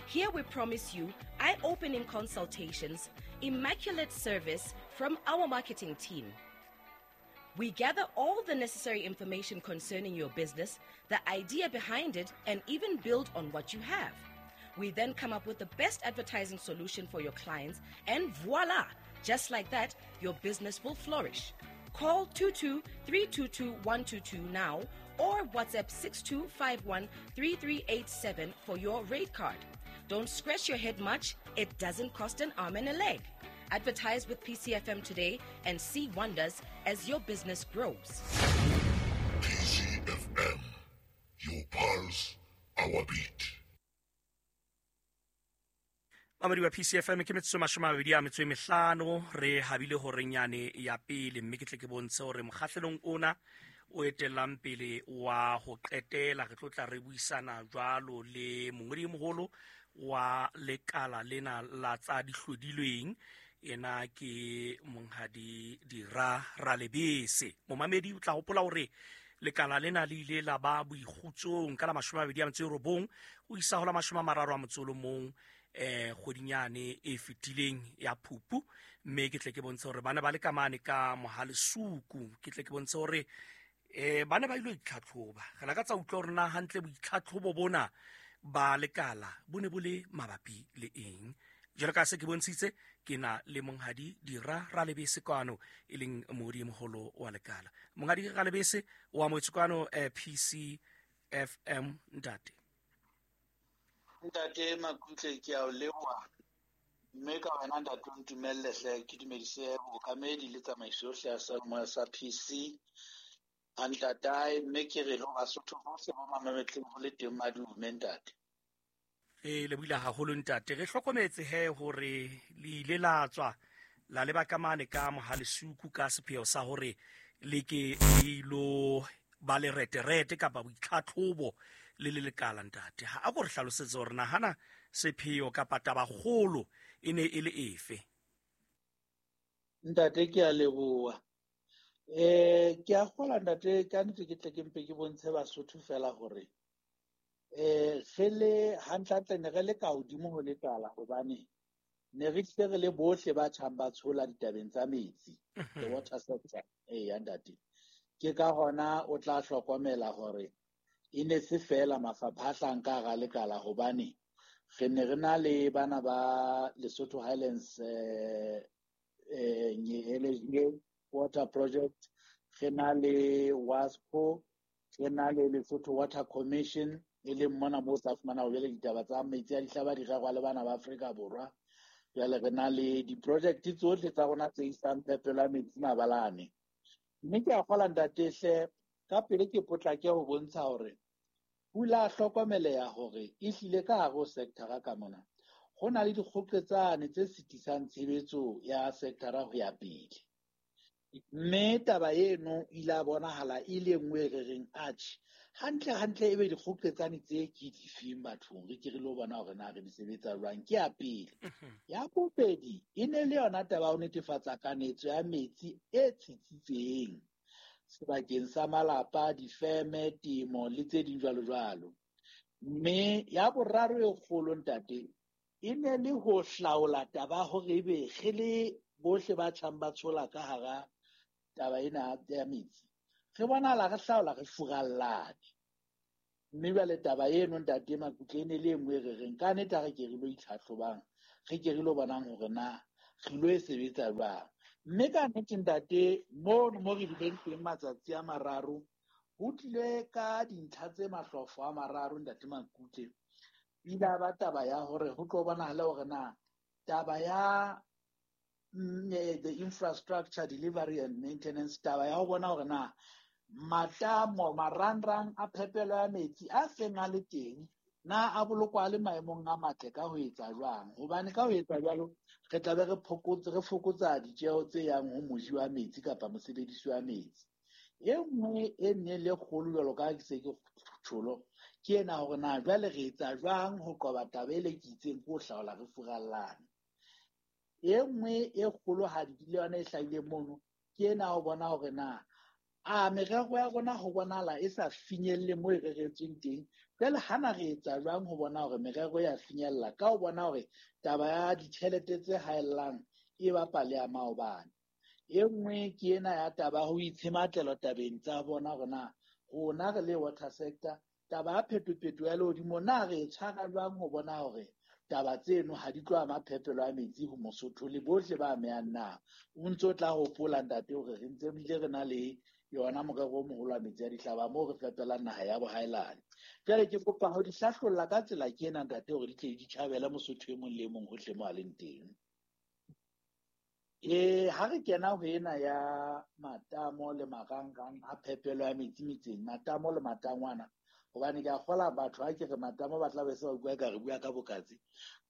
[SPEAKER 6] Here we promise you eye-opening consultations, immaculate service from our marketing team. We gather all the necessary information concerning your business, the idea behind it, and even build on what you have. We then come up with the best advertising solution for your clients, and voila! Just like that, your business will flourish. Call two two three two two one two two now or WhatsApp six two five one three three eight seven for your rate card. Don't scratch your head much. It doesn't cost an arm and a leg. Advertise with P C F M today and see wonders as your business grows.
[SPEAKER 5] P C F M, your pulse, our beat.
[SPEAKER 2] Mamedi wa P C F M ke metsotso mashome a mabedi a metso e mehlano, re habile horeng yane ya pele, mme ke tle ke bontshe hore mokgahlelong ona o etellang pele wa ho qetela re tlo tla re buisana jwalo le mongodi e moholo wa lekala lena la tsa dihlodilweng, ena ke monghadi Dira Ralebese. Momamedi o tla hopola hore lekala lena le ile la ba boikgutsong ka la mashome a mabedi a metso e robong ho isa ho la mashome a mararo a motso o le mong eh kgwedinyane e fetileng ya Phupu, mme ke tle ke bontshe hore bana ba le kamane ka Mohalesuku. Ke tle ke bontshe hore eh bana ba ile itlhatlhoba. Re lakatsa utlwa hore na hantle boitlhatlhobo bona ba lekala bo ne bo le mabapi le eng. Jwalo ka se ke bontshitse, ke na le monghadi Dira Ralebese kwano, e leng moodi moholo wa lekala. Monghadi Ralebese o amohetswe kwano eh, P C F M ntate.
[SPEAKER 7] Ntate Makutle, ke a o leboha, mme ka wena ntate o ntumelle hle ke dumedise bookamedi le tsamaiso yohle ya seyalemoya sa P C a ntatae, mme ke re ho Basotho bohle ba mametleng ho le teng madume ntate.
[SPEAKER 2] E lebohile haholo ntate. Re hlokometse he hore le ile la tswa la leba ka mane ka Mohalesuku ka sepheo sa hore le ke le ilo ba le reterete kapa boitlhatlhobo le le lekala ntate. Ha a ko re hlalosetse hore nahana sepheo kapa tabakgolo e ne e le efe.
[SPEAKER 7] Ntate ke a leboha. Eh ke a kgola ntate, ka nnete ke tle ke mpe ke bontshe Basotho fela hore eh re le hantlentle ne re le ka hodimo ho lekala, hobane ne re tle re le bohle ba tjhang ba tshola ditabeng tsa metsi, the water sector. Eh ntate, ke ka hona o tla hlokomela hore e ne se fela mafapha a hlahang ka hara lekala, hobane re ne re na le bana ba Lesotho Highlands eh eh Water Project, re na le WASCO, re na le Lesotho Water Commission, e leng mona moo sa fumana ho jwale ditaba tsa metsi a dihlaba di rerwa le bana ba Afrika Borwa. Jwale re na le di-project tsohle tsa rona tse isang phepelo ya metsi mabalane. Mme ke a kgola ntate hle, ka pele ke potlake ho bontsha hore pula hlokomeleha hore e hlile ka hare ho sector ka mona ho na le dikgoqetsane tse sitisang tshebetso ya sector ho ya pele. Mme taba eno ile a bonahala e le nngwe e re reng atjhe, hantle hantle ebe dikgoqetsane tse ke difeng bathong, re ke re lo bona hore na re di sebetsa jwang. Ke ya pele. Ya bobedi e ne le yona taba ya ho netefatsa kanetso ya metsi e tsitsitseng sebakeng sa malapa, difeme, temo le tse ding jwalo jwalo. Mme ya boraro e kgolo ntate e ne le ho hlaola taba hore ebe re le bohle ba tjhang ba tshola ka hara taba ena ya metsi. Re bonahala re hlaola re furallane. Mme jwale taba eno ntate Makutle e ne le e nngwe e re reng ka nnete ha re ke re lo itlhahlobang, re ke re lo bonang hore na re lo e sebetsa jwang. Mme ka nnete ntate mono mo re bileng teng matsatsi a mararo ho tlile ka dintlha tse mahlofo a mararo ntate Makutle. Ile a ba taba ya hore ho tlo bonahala hore na taba ya the infrastructure delivery and maintenance, taba ya ho bona hore na matamo marangrang a phepelo ya metsi a seng a le teng na a bolokwa a le maemong a matle ka ho etsa jwang, hobane ka ho etsa jwalo re tla be re phokotse re fokotsa ditjeho tse yang ho moji wa metsi kapa mosebedisi wa metsi. E nngwe e nne le kgolo jwalo ka ke se ke tjholo ke ena hore na jwale re etsa jwang ho qoba taba e le ke itseng ko hlaola re furallane. E nngwe e kgolohadi le yona e hlahileng mono ke ena ho bona hore na a merero ya rona ho bonahala e sa finyelle moo e reretsweng teng. Jwale hana re etsa jwang ho bona hore merero ya finyella ka ho bona hore taba ya ditjhelete tse haellang e bapa le ya maobane. E nngwe ke ena ya taba ho itshematlelo tabeng tsa bona hore na rona re le water sector taba ya phetopheto ya lehodimo na re e tshwara jwang ho bona hore taba tseno ha di tlo ama phepelo ya metsi ho Mosotho le bohle ba amehang na. O ntso tla hopola ntate hore re ntse bile re na le yona morero o moholo wa metsi a dihlaba moo re fepelang naha ya bohaelane. Jwale ke kopa ho di hlahlolla ka tsela ke ena ntate hore di tle di tjhabele Mosotho e mong le e mong hohle mo a leng teng. E ha re kena ho ena ya matamo le marangrang a phepelo ya metsi metseng, matamo le matangwana, hobane ke a kgola batho ha ke re matamo ba tla be se ba bua ka re bua ka bokatse.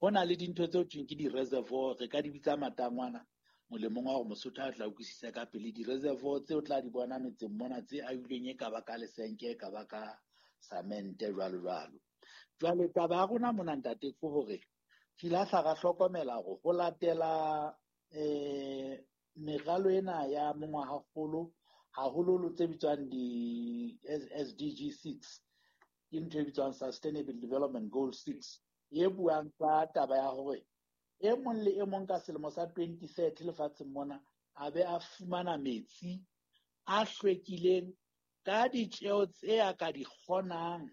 [SPEAKER 7] Ho na le dintho tseo thweng ke di-reservoir, re ka di bitsa matangwana molemong wa hore Mosotho a tla utlwisisa ka pele. Di-reservoir tseo tla di bona metseng mona tse ahilweng e ka ba ka lesenke, e ka ba ka samente jwalo jwalo. Jwale taba ya rona mona ntate ke hore re ile hla ra hlokomela hore ho latela eh meralo ena ya mongwahakgolo haholoholo tse bitswang di-S D G six, ke ntho e bitswang Sustainable Development Goal six, e buang ka taba ya hore e mong le e mong ka selemo sa twenty thirty lefatsheng mona a be a fumana metsi a hlwekileng ka ditjeho tse a ka di kgonang,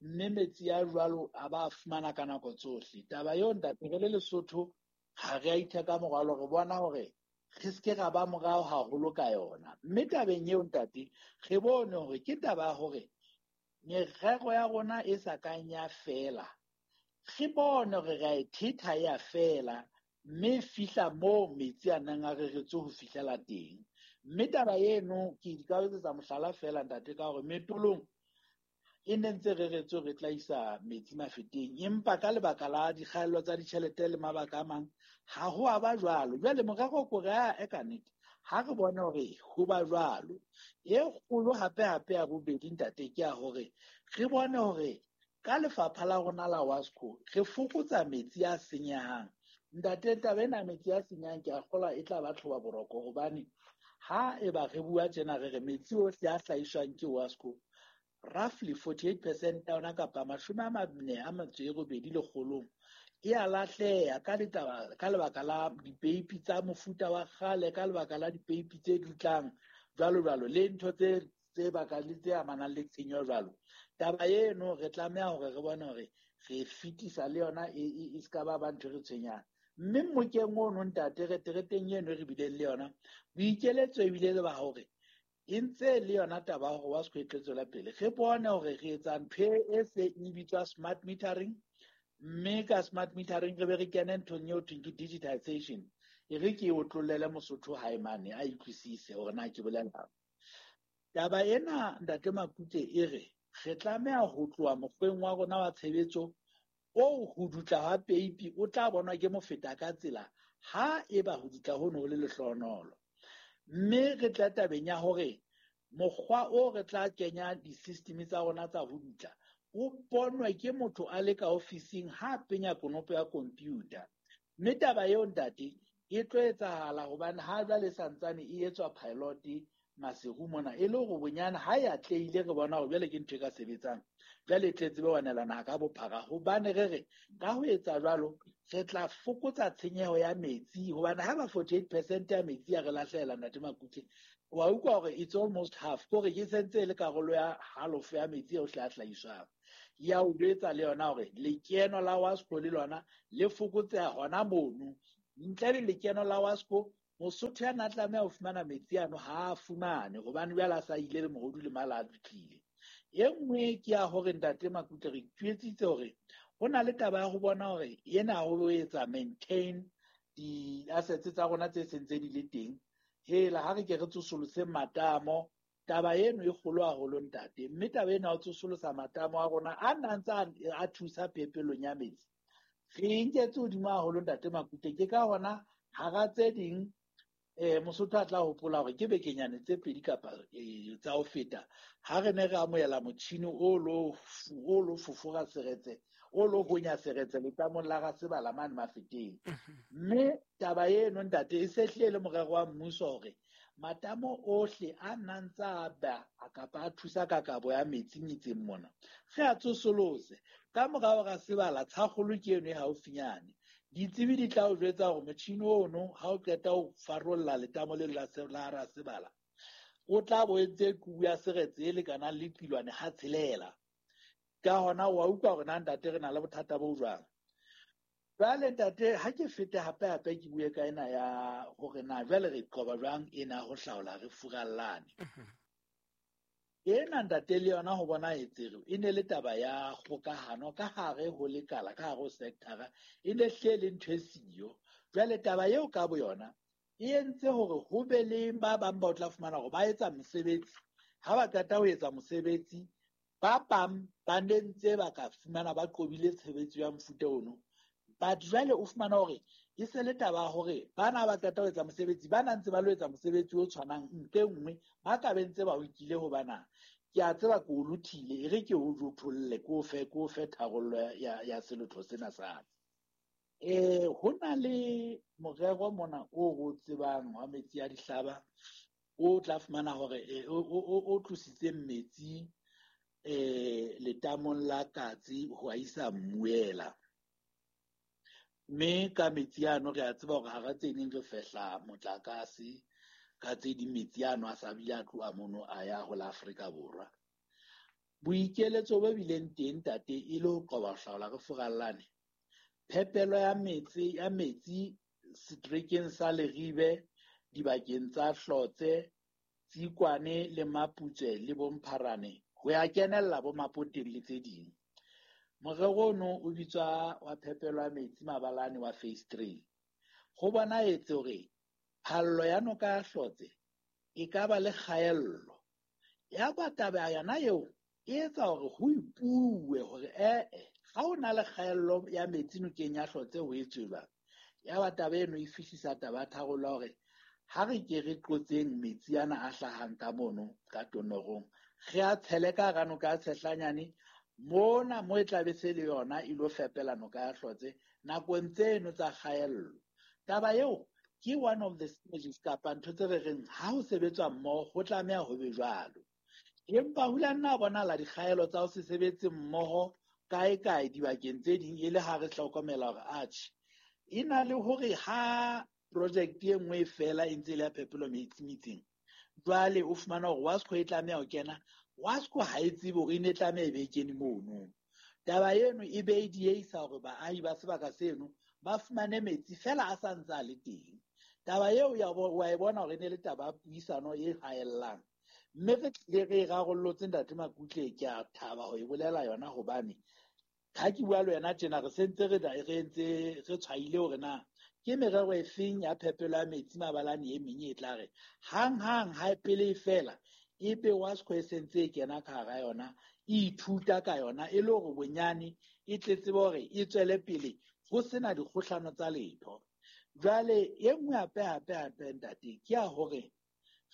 [SPEAKER 7] mme metsi a jwalo a ba fumana ka nako tsohle. Taba eo ntate re le Lesotho ha re a itheka morwalo, re bona hore re se ke ra ba morao haholo ka yona. Mme tabeng eo ntate re bone hore ke taba ya hore merero ya rona e sa kang ya fela, re bone hore re a e thetha ya fela mme fihla moo metsi a nang a reretswe ho fihlela teng. Mme taba eno ke ka etsetsa mohlala fela ntate ka hore metolong e ne ntse reretswe re tla isa metsi mafeteng, empa ka lebaka la dikgaello tsa ditjhelete le mabaka a mang ha ho a ba jwalo. Jwale morero ko re a e ka nnete ha re bone hore ho ba jwalo. E kgolo hape hape ya bobedi ntate ke ya hore re bone hore ka lefapha la rona la WASCO re fokotsa metsi a senyehang. Ntate taba ena metsi a senyehang ke a kgolwa e tla ba tlhoba boroko, hobane ha eba re bua tjena re re metsi ohle a hlahiswang ke WASCO roughly forty-eight percent ya yona kapa mashome a mane a metso e robedi lekgolong e a lahleha ka ditaba ka lebaka la dipeipi tsa mofuta wa kgale, ka lebaka la dipeipi tse dutlang jwalo jwalo le ntho tse tse bakang le tse amanang le tshenyo jwalo. Taba eno re tlameha hore re bone hore re fetisa le yona e se ka ba ba ntho re tshwenyang. Mme mmokeng ono ntate re tereteng eno re bileng le yona boikeletso ebile le ba hore e ntse le yona taba hore WASCO e tlo tswela pele. Re bone hore re etsa ntho e se e bitswa smart metering, mme ka smart metering re be re kene nthong eo thweng ke digitization. E re ke o tlollele Mosotho hae mane a utlwisise hore na ke bolelang. Taba ena ntate Makute e re re tlameha ho tloha mokgweng wa rona wa tshebetso oo ho dutla ha peipi o tla bonwa ke mofeta ka tsela ha eba ho dutla hono ho le lehlohonolo. Mme re tla tabeng ya hore mokgwa o re tla kenya di-system tsa rona tsa ho dutla o bonwe ke motho a le ka ofising ha penya konopo ya computer. Mme taba eo ntate e tlo etsahala hobane ha jwale santsane e etswa pilot Maseru mona e le hore bonyane ha e atlehile re bona hore jwale ke ntho e ka sebetsang. Jwale e tle tsebe ho anela naha ka bophara, hobane re re ka ho etsa jwalo re tla fokotsa tshenyeho ya metsi, hobane ha ba forty-eight percent ya metsi ya re lahlela Ntate Makutle, wa utlwa hore it's almost half, kore ke sentse e le karolo ya halofo ya metsi eo hle a hlahiswang. Ya o jwetsa le yona hore lekeno la WASCO le lona le fokotseha hona mono. Ntle le lekeno la WASCO, Mosotho ya na tlameha ho fumana metsi ano ha a fumane, hobane jwale a sa ile le mohodu le mala a dutlile. E nngwe ke ya hore Ntate Makutle re itjwetsitse hore ho na le taba ya ho bona hore ena ho etsa maintain di-assets tsa rona tse sentse di le teng. Hela ha re ke re tsosolose matamo, taba eno e kgolo haholo ntate, mme taba ena ya ho tsosolosa matamo a rona a nna ntse a thusa phepelong ya metsi, re nketse hodimo haholo Ntate Makutle. Ke ka hona hara tse ding eh Mosotho a tla hopola hore ke bekenyane tse pedi kapa tsa ho feta ha re ne re amohela motjhini o lo o lo fofora seretse, o lo honya seretse letamong la Rasebala mane Mafeteng. Mme taba eno ntate e se hlile le morero wa mmuso hore matamo ohle a nang tsa ba a kapa a thusa ka kabo ya metsi metseng mona re a tsosolose. Ka morao Rasebala tshakgolo ke eno e haufinyane. Ditsebi di tla o jwetsa hore motjhini ono ha o qeta ho farolla letamo le la la Rasebala, o tla bo entse kubu ya seretse e lekanang le qilwane ha tshelela. Ka hona wa utlwa hore na ntate re na le bothata bo jwang. Jwale ntate ha ke fete hape hape ke bue ka ena ya hore na jwale re qoba jwang ena ho hlaola re furallane. Ena ntate le yona ho bona etsere e ne le taba ya kgokahano ka hare ho lekala, ka hare ho sector, e ne hle le ntho e siyo. Jwale taba eo ka boyona e entse hore ho be le ba bang ba o tla fumana hore ba etsa mosebetsi. Ha ba qeta ho etsa mosebetsi, ba bang ba ne ntse ba ka fumana ba qobile tshebetso ya mofuta ono. But jwale o fumana hore e se le taba hore bana ba qeta ho etsa mosebetsi, ba na ntse ba lo etsa mosebetsi o tshwanang ntle nngwe, ba ka be ntse ba o nkile hobana ke a tseba ke o lothile, e re ke o jotholle, ke o fe, ke o fe tharollo ya, ya selotho sena sa ka. Eh, ho na le morero mona o re o tsebang wa metsi a dihlaba, o tla fumana hore o, o, o tlositse metsi eh letamong la Katse ho a isa Mmuela. Mme ka metsi ano re a tseba hore hara tse ding re fehla motlakase, ka tse ding metsi ano a sa bile a tloha mono a ya ho la Afrika Borwa. Boikeletso bo bileng teng ntate e le ho qoba ho hlaola re furallane. Phepelo ya metsi ya metsi setrekeng sa Leribe, dibakeng tsa Hlotse, Tsikwane le Maputswe le Bompharane ho ya kenella bo Mapoteng le tse ding. Morero ono o bitswa wa phepelo ya metsi mabalane wa phase three. Ho bonahetse hore phallo ya noka ya Hlotse e ka ba le kgaello. Ya ba taba yona eo e etsa hore ho ipuwe hore eh ha o na le kgaello ya metsi nokeng ya Hlotse ho etswe jwang. Ya ba taba eno e fihlisa taba ya tharollo hore ha re ke re qotseng metsi ana a hlahang ka mono ka tonorong, re a tshele ka hara noka ya Tshehlanyane mona mo e tla be se le yona e lo fepela noka ya Hlotse nakong tseno tsa kgaello. Taba eo ke one of the synergies kapa ntho tse re reng ha ho sebetswa mmoho ho tlameha ho be jwalo. Empa ho la nna bonahala dikgaelo tsa ho se sebetse mmoho kae kae dibakeng tse ding e le ha re hlokomela hore atjhe e na le hore ha project e nngwe fela e ntse e le ya phepelo metsi metseng, jwale o fumana hore WASCO e tlameha ho kena, WASCO ha e tsebe hore e ne tlameha e be e kene mono. Taba eno e be e dieisa hore baahi ba sebaka seno ba fumane metsi fela a sa ntse a le teng. Taba eo ya wa e bona hore e ne le taba ya puisano e haellang, mme re tlile re e rarollotse Ntate Makutle. Ke a thaba ho e bolela yona hobane ha ke bua le wena tjena re sentse re re ntse re tshwaile hore na ke merero e feng ya phepelo ya metsi mabalane e meng e tla re hang hang ha pele e fela ebe WASCO e sentse e kena ka hara yona, e ithuta ka yona e le hore bonyane e tle tsebe hore e tswele pele ho sena dikgohlano tsa letho. Jwale e nngwe hape hape hape ntate ke ya hore re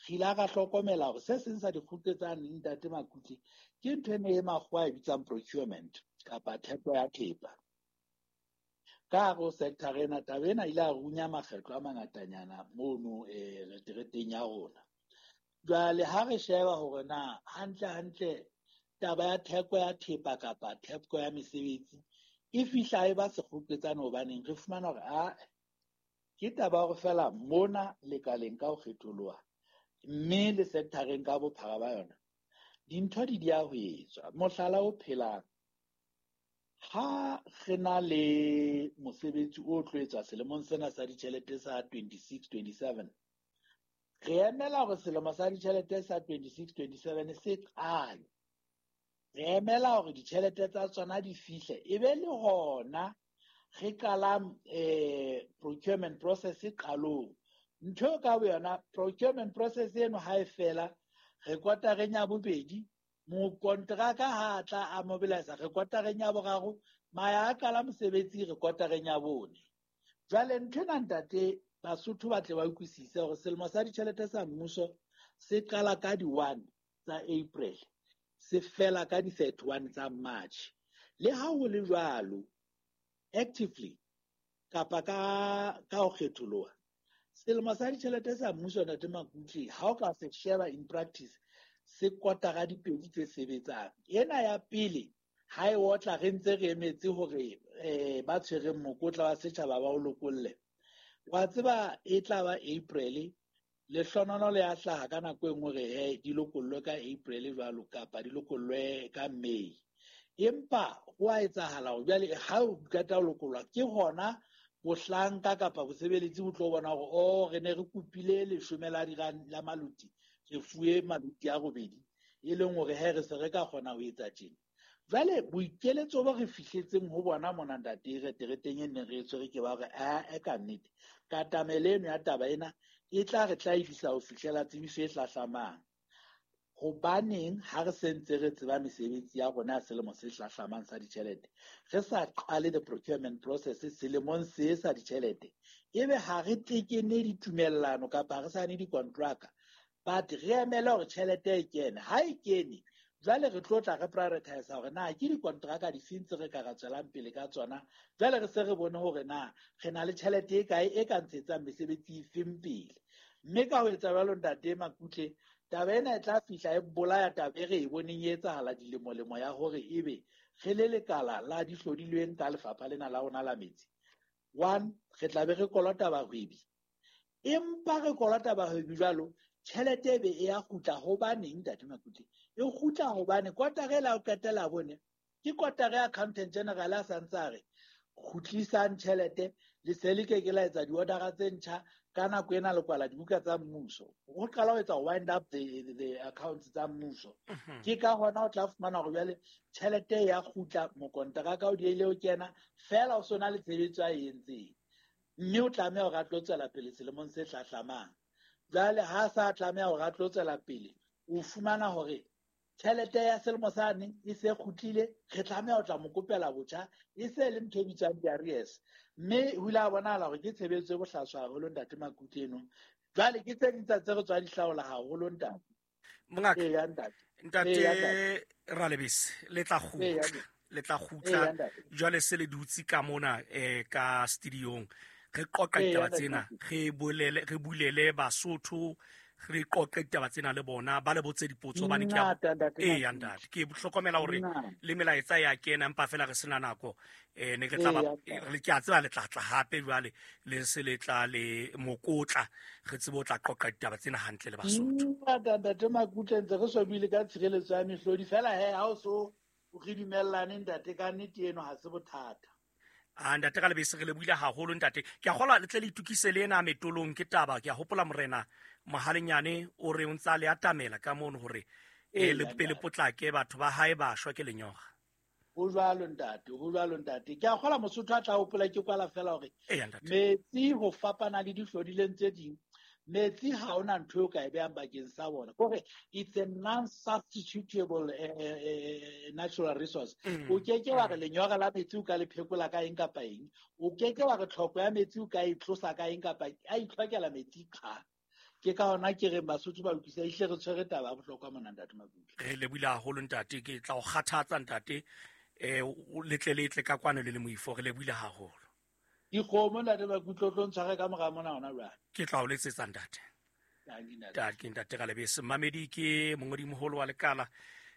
[SPEAKER 7] ile ra hlokomela hore se seng sa dikgutlo tsa Ntate Makutle ke ntho eno e makgowa e bitsang procurement kapa theko ya thepa. Ka hare ho sector ena taba ena ile ya runya makgetlo a mangatanyana mono eh retereteng ya rona. Jwale ha re sheba hore na hantle hantle taba ya theko ya thepa kapa theko ya mesebetsi e fihla e ba sekgoketsane hobaneng re fumana hore a ke taba ya hore fela mona lekaleng ka ho kgetholoha mme le sectoreng ka bophara ba yona dintho di dia ho etswa. Mohlala o phelang, ha re na le mosebetsi o tlo etswa selemong sena sa ditjhelete sa twenty-six twenty-seven, re emela hore selemo sa ditjhelete sa twenty-six twenty-seven se qale, re emela hore ditjhelete tsa tsona di fihle, e be le hona re qalang eh procurement process qalong. Ntho ka boyona procurement process eno ha e fela, re kotareng ya bobedi mokontraka ha tla a mobilize, re kotareng ya boraro maya a qala mosebetsi, re kotareng ya bone. Jwale ntho ena ntate Basotho ba tle ba utlwisise hore selemo sa ditjhelete sa mmuso se qala ka di one tsa April, se fela ka di thirty-one tsa March. Le ha ho le jwalo, actively kapa ka ka ho kgetholoha, selemo sa ditjhelete sa mmuso ntate Makutle, ha o ka se sheba in practice, se kotara dipedi tse sebetsang. Ena ya pele ha e otla re ntse re emetse hore eh ba tshwereng mokotla wa setjhaba ba o lokolle. Wa tseba e tla ba April, lehlonono le a hlaha ka nako e nngwe hore he di lokollwe ka April jwalo kapa di lokollwe ka May. Empa ho a etsahala hore jwale ha o qeta ho lokollwa ke hona bohlanka kapa bosebeletsi bo tlo bona hore oh re ne re kopile leshome la diranta la maluti, re fuwe maluti a robedi, e leng hore he re se re ka kgona ho etsa tjena. Jwale boikeletso bo re fihletseng ho bona mona ntate re tereteng e neng re tshwere ke ba hore a e ka nnete katamelo eno ya taba ena e tla re tla ho fihlela tsebiso e hlahlamang. Hobaneng ha re sentse re tseba mesebetsi ya rona ya selemo se hlahlamang sa ditjhelete, re sa qale the procurement process selemong se sa ditjhelete, ebe ha re tekene ditumellano kapa re sa ne dikontraka, but re emele hore tjhelete e kene. Ha e kene, jwale re tlo tla re prioritize hore na ke dikontraka difeng tse re ka ra tswelang pele ka tsona. Jwale re se re bone hore na re na le tjhelete e kae e ka ntshetsang mesebetsi efeng pele. Mme ka ho etsa jwalo ntate Makutle, taba ena e tla fihla e bolaya taba e re e boneng e etsahala dilemolemo ya hore ebe re le lekala la dihlodilweng ka lefapha lena la rona la metsi. One, re tla be re kolota bahwebi, empa re kolota bahwebi jwalo, tjhelete e be e ya kgutla. Hobaneng ntate Makutle? E kgutla hobane kotara e la ho qetela bone ke kotara ya accountant general a santse a re kgutlisang tjhelete, le se le ke ke la etsa di-order-a tse ntjha ka nako ena le kwala dibuka tsa mmuso. Ho qala ho etsa wind up the, the, the accounts tsa mmuso. Ke ka hona o tla fumana hore jwale tjhelete ya kgutla, mokonteraka o diehile ho kena fela, o sona le tshebetso a e entseng, mme o tlameha hore a tlo tswela pele selemong se hlahlamang. Jwale ha sa tlameha hore a tlo tswela pele, o fumana hore tjhelete ya selemo sane e se kgutlile, re tlameha ho tla mo kopela botjha, e se le ntho e bitswang di-arrears. Mme ho ile ha bonahala hore ke tshebetso e bohlaswa haholo ntate Makutle eno. Jwale ke tse ding tsa tse re tswa di hlaola haholo ntate.
[SPEAKER 2] Mongaka,
[SPEAKER 7] Eya ntate.
[SPEAKER 2] Ntate Ralebese, le tla kgutla, le tla kgutla jwale se le dutse ka mona eh ka studiong, re qoqa ditaba tsena, re bolele, re bulele Basotho, re qoqe ditaba tsena le bona, ba le botse dipotso hobane ke a eh ntate, ke hlokomela hore le melaetsa ya kena, empa fela re sena nako. Eh ne ke tla ba le ke a tseba le tla tla hape jwale le se le tla le mokotla, re tsebe o tla qoqa ditaba tsena hantle le Basotho.
[SPEAKER 7] Ntate Makutle, ntse re swabile ka tshireletso ya mehlodi fela he, ha o so re dumellane ntate ka nnete eno ha se bothata.
[SPEAKER 2] Ah ntate ka lebese re le buile haholo ntate. Ke a kgolwa le tle le itukise le ena metolong ke taba. Ke a hopola morena Mohalenyane o re o ntsa le atamela ka mono hore e le pele potlake batho ba hae ba shwa ke lenyora.
[SPEAKER 7] Ho jwalo ntate, ho jwalo ntate. Ke a kgolwa Mosotho a tla hopola ke kwala fela hore metsi ho fapana le dihlodileng tse ding, metsi ha ona ntho eo ka e behang bakeng sa bona. Kore it's a non-substitutable uh, natural resource. O ke ke wa re lenyora la metsi o ka le phekola ka eng kapa eng. O ke ke wa re tlhoko ya metsi o ka e tlosa ka eng kapa eng. A itlhokela metsi qha. Ke ka hona ke reng Basotho ba utlwisisa ehlile re tshwere taba ya bohlokwa mona ntate Makutle.
[SPEAKER 2] Re lebohile haholo ntate, ke tla o kgathatsa ntate eh le tle le tle ka kwano le le moifo, re lebohile haholo.
[SPEAKER 7] Dikgomo ntate Makutle, o tlo ntshware ka mora mona hona jwale.
[SPEAKER 2] Ke tla o letsetsa ntate. Ntate, ntate Ralebese. Mamedi ke mongodimoholo wa lekala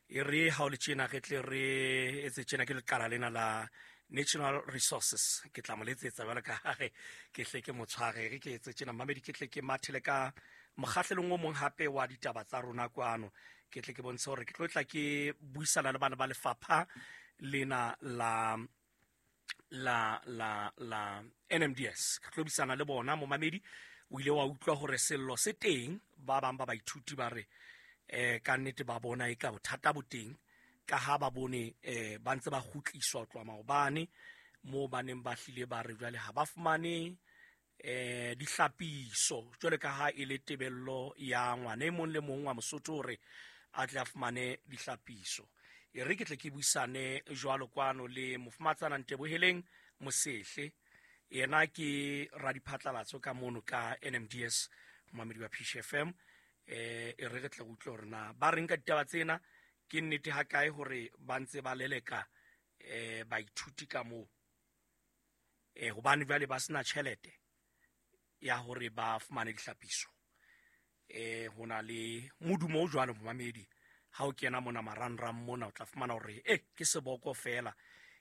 [SPEAKER 2] E re ha o le tjena re tle re etse tjena ke lekala lena la National Resources. Ke tla mo letsetsa jwalo ka ha re ke hle ke motshware re ke etse tjena mamedi ke tle ke mathele ka mokgahlelong o mong hape wa ditaba tsa rona kwano. Ke tle ke bontshe hore ke tlo tla ke buisana le bana ba lefapha lena la la la la N M D S. Ke tlo buisana le bona momamedi o ile wa utlwa hore sello se teng ba bang ba baithuti ba re eh ka nnete ba bona e ka bothata bo teng ka ha ba bone eh ba ntse ba kgutliswa tloha maobane mo ba neng ba hlile ba re jwale ha ba fumane eh dihlapiso jwale ka ha e le tebello ya ngwana e mong le mong wa Mosotho hore a tle a fumane dihlapiso. E re ke tle ke buisane jwalo kwano le mofumatsana Nteboheleng Mosehle, yena ke radiphatlalatso ka mono ka N M D S momamedi wa P C F M. Eh e re re tle re utlwe hore na ba reng ka ditaba tsena, ke nnete ha kae hore ba ntse ba leleka eh baithuti ka moo eh hobane jwale ba sena tjhelete ya hore ba fumane dihlapiso. Eh hona le modumo o jwalo momamedi ha o kena mona marangrang mona o tla fumana hore eh ke seboko fela.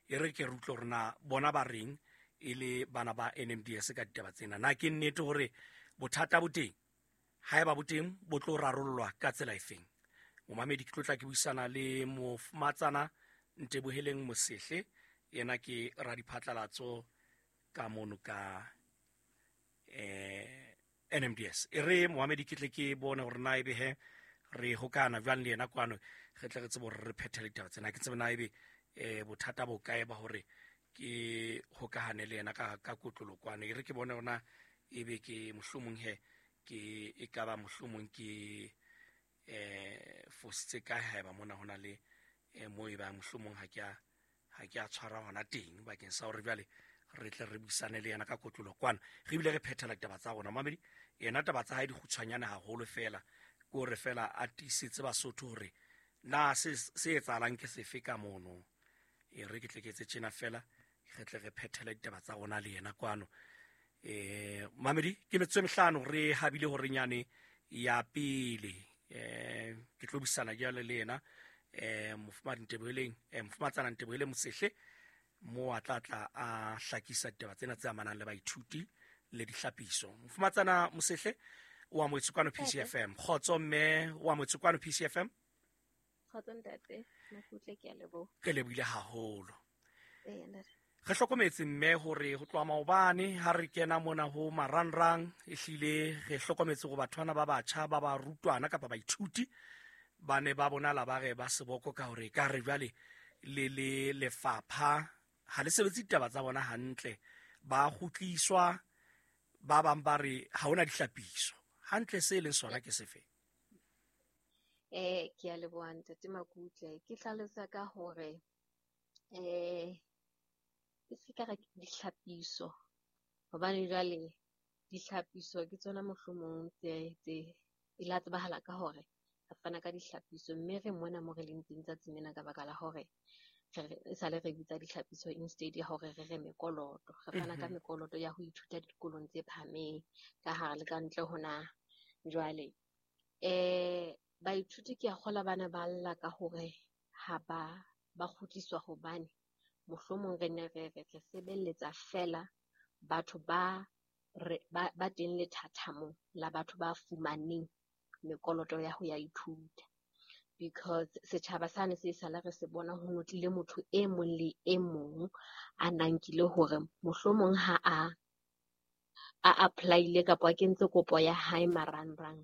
[SPEAKER 2] E re ke re utlwe hore na bona ba reng e le bana ba N M D S ka ditaba tsena. Na ke nnete hore bothata bo teng? Haeba bo teng bo tlo rarollwa ka tsela efeng? Momamedi ke tlo tla ke buisana le mofumatsana Nteboheleng Mosehle, yena ke radiphatlalatso ka mono ka eh N M D S. E re momamedi ke tle ke bone hore na ebe he re hokana jwang le yena kwano, re tle re tsebe hore re phethele ditaba tsena. Ke tsebe na ebe eh bothata bo kae ba hore ke hokahane le yena ka ka kotlolo kwano. E re ke bone hore na ebe ke mohlomong he ke e ka ba mohlomong ke eh fositse kae haeba mona hona le eh mo e ba mohlomong ha ke a ha ke a tshwara hona teng bakeng sa hore jwale re tle re buisane le yena ka kotlolo kwano, re bile re phethela ditaba tsa rona. Mamedi yena taba tsa hae di kgutshwanyane haholo fela, ke hore fela a tiisetse Basotho hore na se se etsahalang ke sefe ka mono. E re ke tle ke etse tjena fela re tle re phethele ditaba tsa rona le yena kwano. Eh mamedi ke metsotso e mehlano re habile hore nyane ya pele eh ke tlo buisana jwale le yena eh mofumadi Nteboheleng eh mofumatsana Nteboheleng Mosehle mo a tla tla a hlakisa ditaba tsena tse amanang le baithuti le dihlapiso. Mofumatsana Mosehle o amohetswe kwano P C F M. Kgotso mme, o amohetswe kwano P C F M.
[SPEAKER 8] Kgotso ntate, Makutle, ke a leboha.
[SPEAKER 2] Re lebohile haholo.
[SPEAKER 8] Ee ntate.
[SPEAKER 2] Re hlokometse mme hore ho tloha maobane ha re kena mona ho marangrang ehlile re hlokometse hore bathwana ba batjha ba ba rutwana kapa baithuti ba ne ba bonala ba re ba seboko ka hore ka re jwale le le lefapha ha le sebetse ditaba tsa bona hantle, ba kgutliswa, ba bang ba re ha hona dihlapiso. Hantle se leng sona ke sefe?
[SPEAKER 8] Eh ke a leboha ntate Makutle. Ke hlalosa ka hore eh ke se ka re dihlapiso, hobane jwale dihlapiso ke tsona mohlomong tse tse e la tsebahala ka hore re fana ka dihlapiso, mme re mona mo re leng teng tsatsing lena ka baka la hore re sale re bitsa dihlapiso instead ya hore re re mekoloto. Re fana ka mekoloto ya ho ithuta dikolong tse phahameng ka hare le ka ntle ho naha. Jwale eh baithuti ke a kgola bana ba lla ka hore ha ba ba kgutliswa, hobane mohlomong re ne re re re sebeletsa fela batho ba re ba, ba teng lethathamong la batho ba fumaneng mekoloto ya ho ya ithuta, because setjhaba sane se sala re se bona ho notlile motho e mong le e mong a nankile hore mohlomong ha a a apply-ile kapa a kentse kopo ya hae marangrang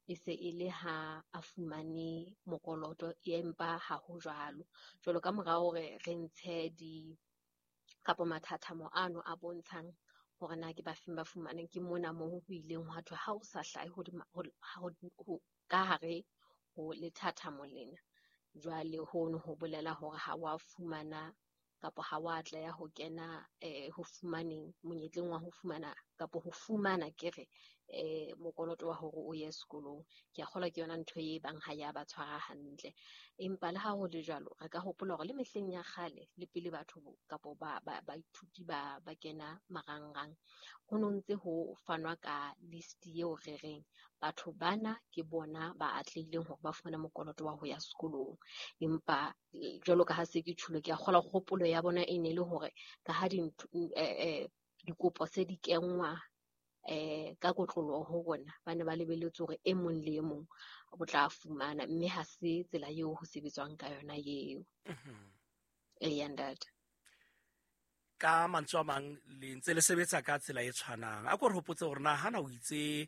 [SPEAKER 8] e se e le ha a fumane mokoloto, empa ha ho jwalo. Jwalo ka mora hore re ntshe di kapa mathathamo ano a bontshang hore na ke ba feng ba fumaneng, ke mona moo ho ileng hwa thwe ha o sa hlahe hodima ho ho ka hare ho lethathamo lena, jwale hono ho bolela hore ha wa fumana kapa ha wa atleha ho kena eh ho fumaneng monyetleng wa ho fumana kapo ho fumana ke re eh mokoloto wa hore o ye sekolong. Ke a kgolwa ke yona ntho e bang ha ya ba tshwara hantle. Empa le ha ho le jwalo, re ka hopola hore le mehleng ya kgale le pele batho kapo ba baithuti ba ba kena marangrang, ho no ntse ho fanwa ka list eo re reng batho bana ke bona ba atlehileng hore ba fumane mokoloto wa ho ya sekolong. Empa jwalo ka ha se ke tjhulo, ke a kgolwa kgopolo ya bona e ne le hore ka ha dintho eh dikopo se di kenngwa eh ka kotloloho ho rona, ba ne ba lebelletse hore e mong le e mong o tla fumana, mme ha se tsela eo ho sebetswang ka yona eo. Eya ntate.
[SPEAKER 2] Ka mantswe a mang le ntse le sebetsa ka tsela e tshwanang. A ko re hopotse hore na hana o itse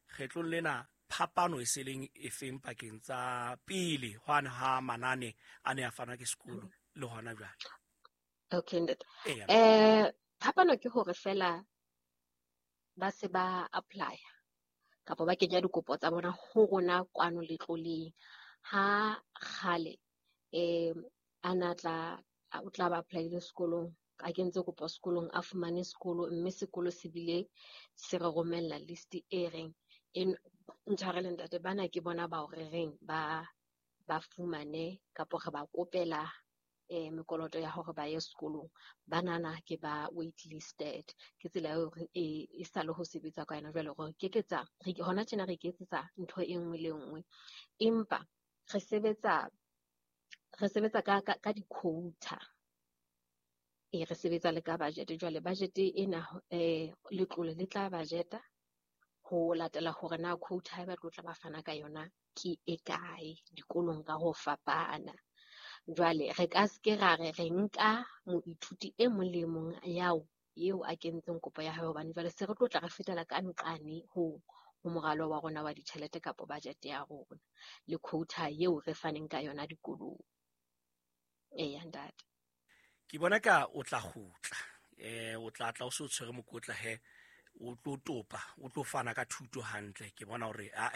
[SPEAKER 2] kgetlong lena phapano e se leng efeng pakeng tsa pele hwane ha manane a ne a fanwa ke sekolo le hona jwale.
[SPEAKER 8] Okay ntate. Eh phapano ke hore fela ba se ba apply kapa ba kenya dikopo tsa bona ho rona kwano letloleng. Ha kgale eh ana tla o tla ba apply le sekolong, a kentse kopo sekolong, a fumane sekolo, mme sekolo se bile se re romella list e reng e ntshwarele ntate, bana ke bona ba o re reng ba ba fumane kapo re ba kopela eh mekoloto ya hore ba ye sekolong, banana ke ba waitlisted. Ke tsela eo e e sa le ho sebetsa ka yona jwale, hore ke ketsa re hona tjena re iketsetsa ntho e nngwe le nngwe, empa re sebetsa re sebetsa ka ka, ka di-quota. E re sebetsa le ka budget. Jwale budget ena eh letlole le tla budgeta ho latela hore na quota e ba tlo tla ba fana ka yona ke e kae dikolong ka ho fapana. Jwale re ka se ke ra re re nka moithuti e mong le mong yao eo a kentseng kopo ya hae, hobane jwale se re tlo tla re fetela ka nqane ho ho moralo wa rona wa ditjhelete kapo budget ya rona le quota eo re faneng ka yona dikolong. Eya ntate.
[SPEAKER 2] Ke bona ka o tla kgutla, eh o tla tla o se o tshwere mokotla he, o tlo topa, o tlo fana ka thuto hantle. Ke bona hore a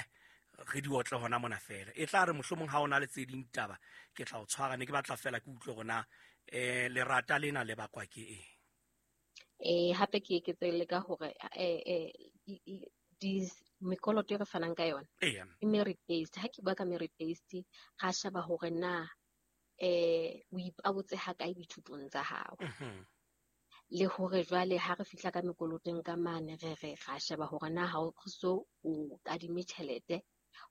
[SPEAKER 2] re di otle hona mona fela. E tla re mohlomong ha ona le tse ding taba ke tla o tshwara, ne ke batla fela ke utlwe hore na eh lerata lena le bakwa ke eng.
[SPEAKER 8] Eh hape ke eketse le ka hore eh eh di mekoloto e re fanang ka yona e merit based. Ha ke bua ka merit based, ra sheba hore na eh o ipabotse ha kae dithutong tsa hao. Le hore jwale ha re fihla ka mekoloteng ka mane re re ra sheba hore na ha o so o kadime tjhelete,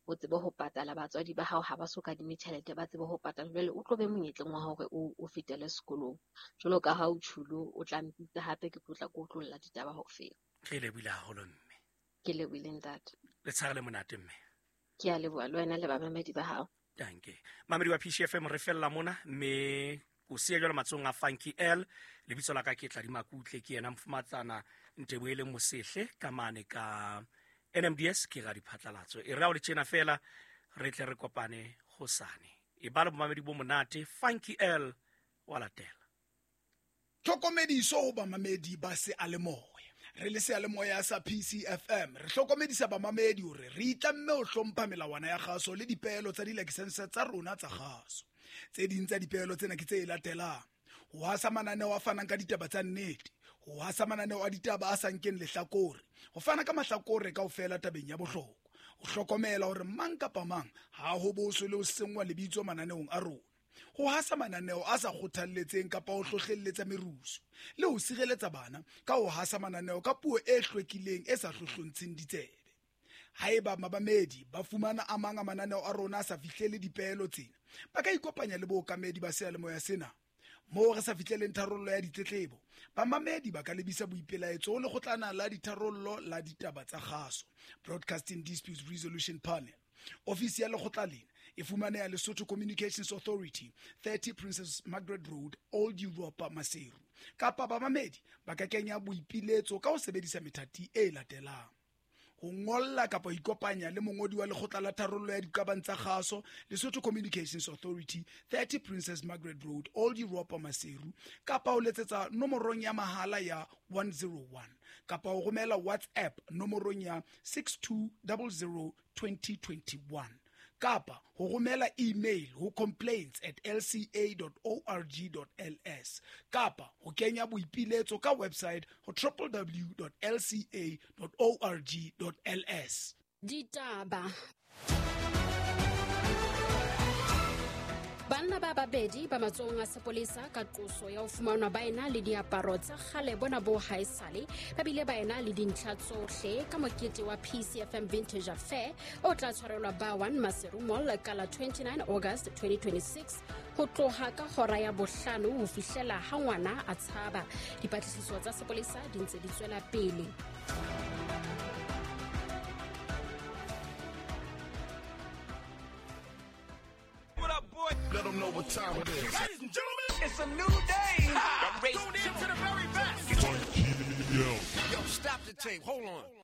[SPEAKER 8] o tsebe ho patala batswadi ba hao ha ba so kadime tjhelete ba tsebe ho patala, jwale o tlo be monyetleng wa hore o o fetele sekolong. Jwalo ka ha o tjhulo, o tla mpitsa hape ke tlo tla ke otlolla ditaba ho fela.
[SPEAKER 2] Ke lebohile haholo mme.
[SPEAKER 8] Ke lebohile ntate.
[SPEAKER 2] Le tshare le monate mme.
[SPEAKER 8] Ke a leboha le wena le bamamedi ba hao.
[SPEAKER 2] Danke. Mamedi wa P C F M re fella mona mme o siya jwalo matsohong a Funky L. Lebitso la ka ke Tladi Makutle, ke yena mofumatsana Nteboele Mosehle ka mane ka N M D S ke ra diphatlalatso. E re o le tjena fela re tle re kopane hosane. E ba le bomamedi bo monate. Funky L wa latela.
[SPEAKER 9] Tlhokomediso ho bamamedi ba seyalemoya. Re le seyalemoya sa P C F M re hlokomedisa bamamedi hore re itlamme ho hlompha melawana ya kgaso le dipeelo tsa dilakesense tsa rona tsa kgaso. Tse ding tsa dipeelo tsena ke tse latelang: ho hasa mananeo a fanang ka ditaba tsa nnete, ho hasa mananeo a ditaba a sa nkeng lehlakore, ho fana ka mahlakore kaofela tabeng ya bohlokwa, ho hlokomela hore mang kapa mang ha ho boswe le ho senngwa lebitso mananeong a rona, ho hasa mananeo a sa kgothalletseng kapa ho hlohlelletsa merusu, le ho sireletsa bana ka ho hasa mananeo ka puo e hlwekileng e sa hlohlontsheng ditsebe. Haeba mabamedi ba fumana a mang a mananeo a rona a sa fihlele dipeelo tsena, ba ka ikopanya le bookamedi ba seyalemoya sena. Moo re sa fihleleng tharollo ya ditletlebo, bamamedi ba ka lebisa boipelaetso ho lekgotlana la ditharollo la ditaba tsa kgaso, Broadcasting Disputes Resolution Panel. Ofisi ya lekgotla lena e fumaneha Lesotho Communications Authority, thirty Princess Margaret Road, Old Europa, Maseru. Kapa bamamedi ba ka kenya boipiletso ka ho sebedisa methati e latelang: ho ngolla kapa ho ikopanya le mongodi wa lekgotla la tharollo ya diqabang tsa kgaso, Lesotho Communications Authority, thirty Princess Margaret Road, Old Europa, Maseru, kapa ho letsetsa nomorong ya mahala ya one zero one, kapa ho romela WhatsApp nomorong ya six two zero zero twenty twenty-one, Kapa ho romela email ho complaints at l c a dot org dot l s kapa ho kenya boipiletso ka website ho w w w dot l c a dot org dot l s.
[SPEAKER 10] Ditaba. Banna ba babedi ba matsohong a sepolesa ka qoso ya ho fumanwa ba ena le diaparo tsa kgale bona bo haesale, ba bile ba ena le dintlha tsohle ka mokete wa P C F M Vintage Affair o tla tshwarelwa ba one Maseru Mall ka la twenty-nine August twenty twenty-six ho tloha ka hora ya bohlano ho fihlela ha ngwana a tshaba. Dipatlisiso tsa sepolesa di ntse di tswela pele.
[SPEAKER 5] Let them know what time it is.
[SPEAKER 11] Ladies and gentlemen, it's a new day. I'm tune in to the very best.
[SPEAKER 5] Yo.
[SPEAKER 11] Yo, stop the tape. Hold on.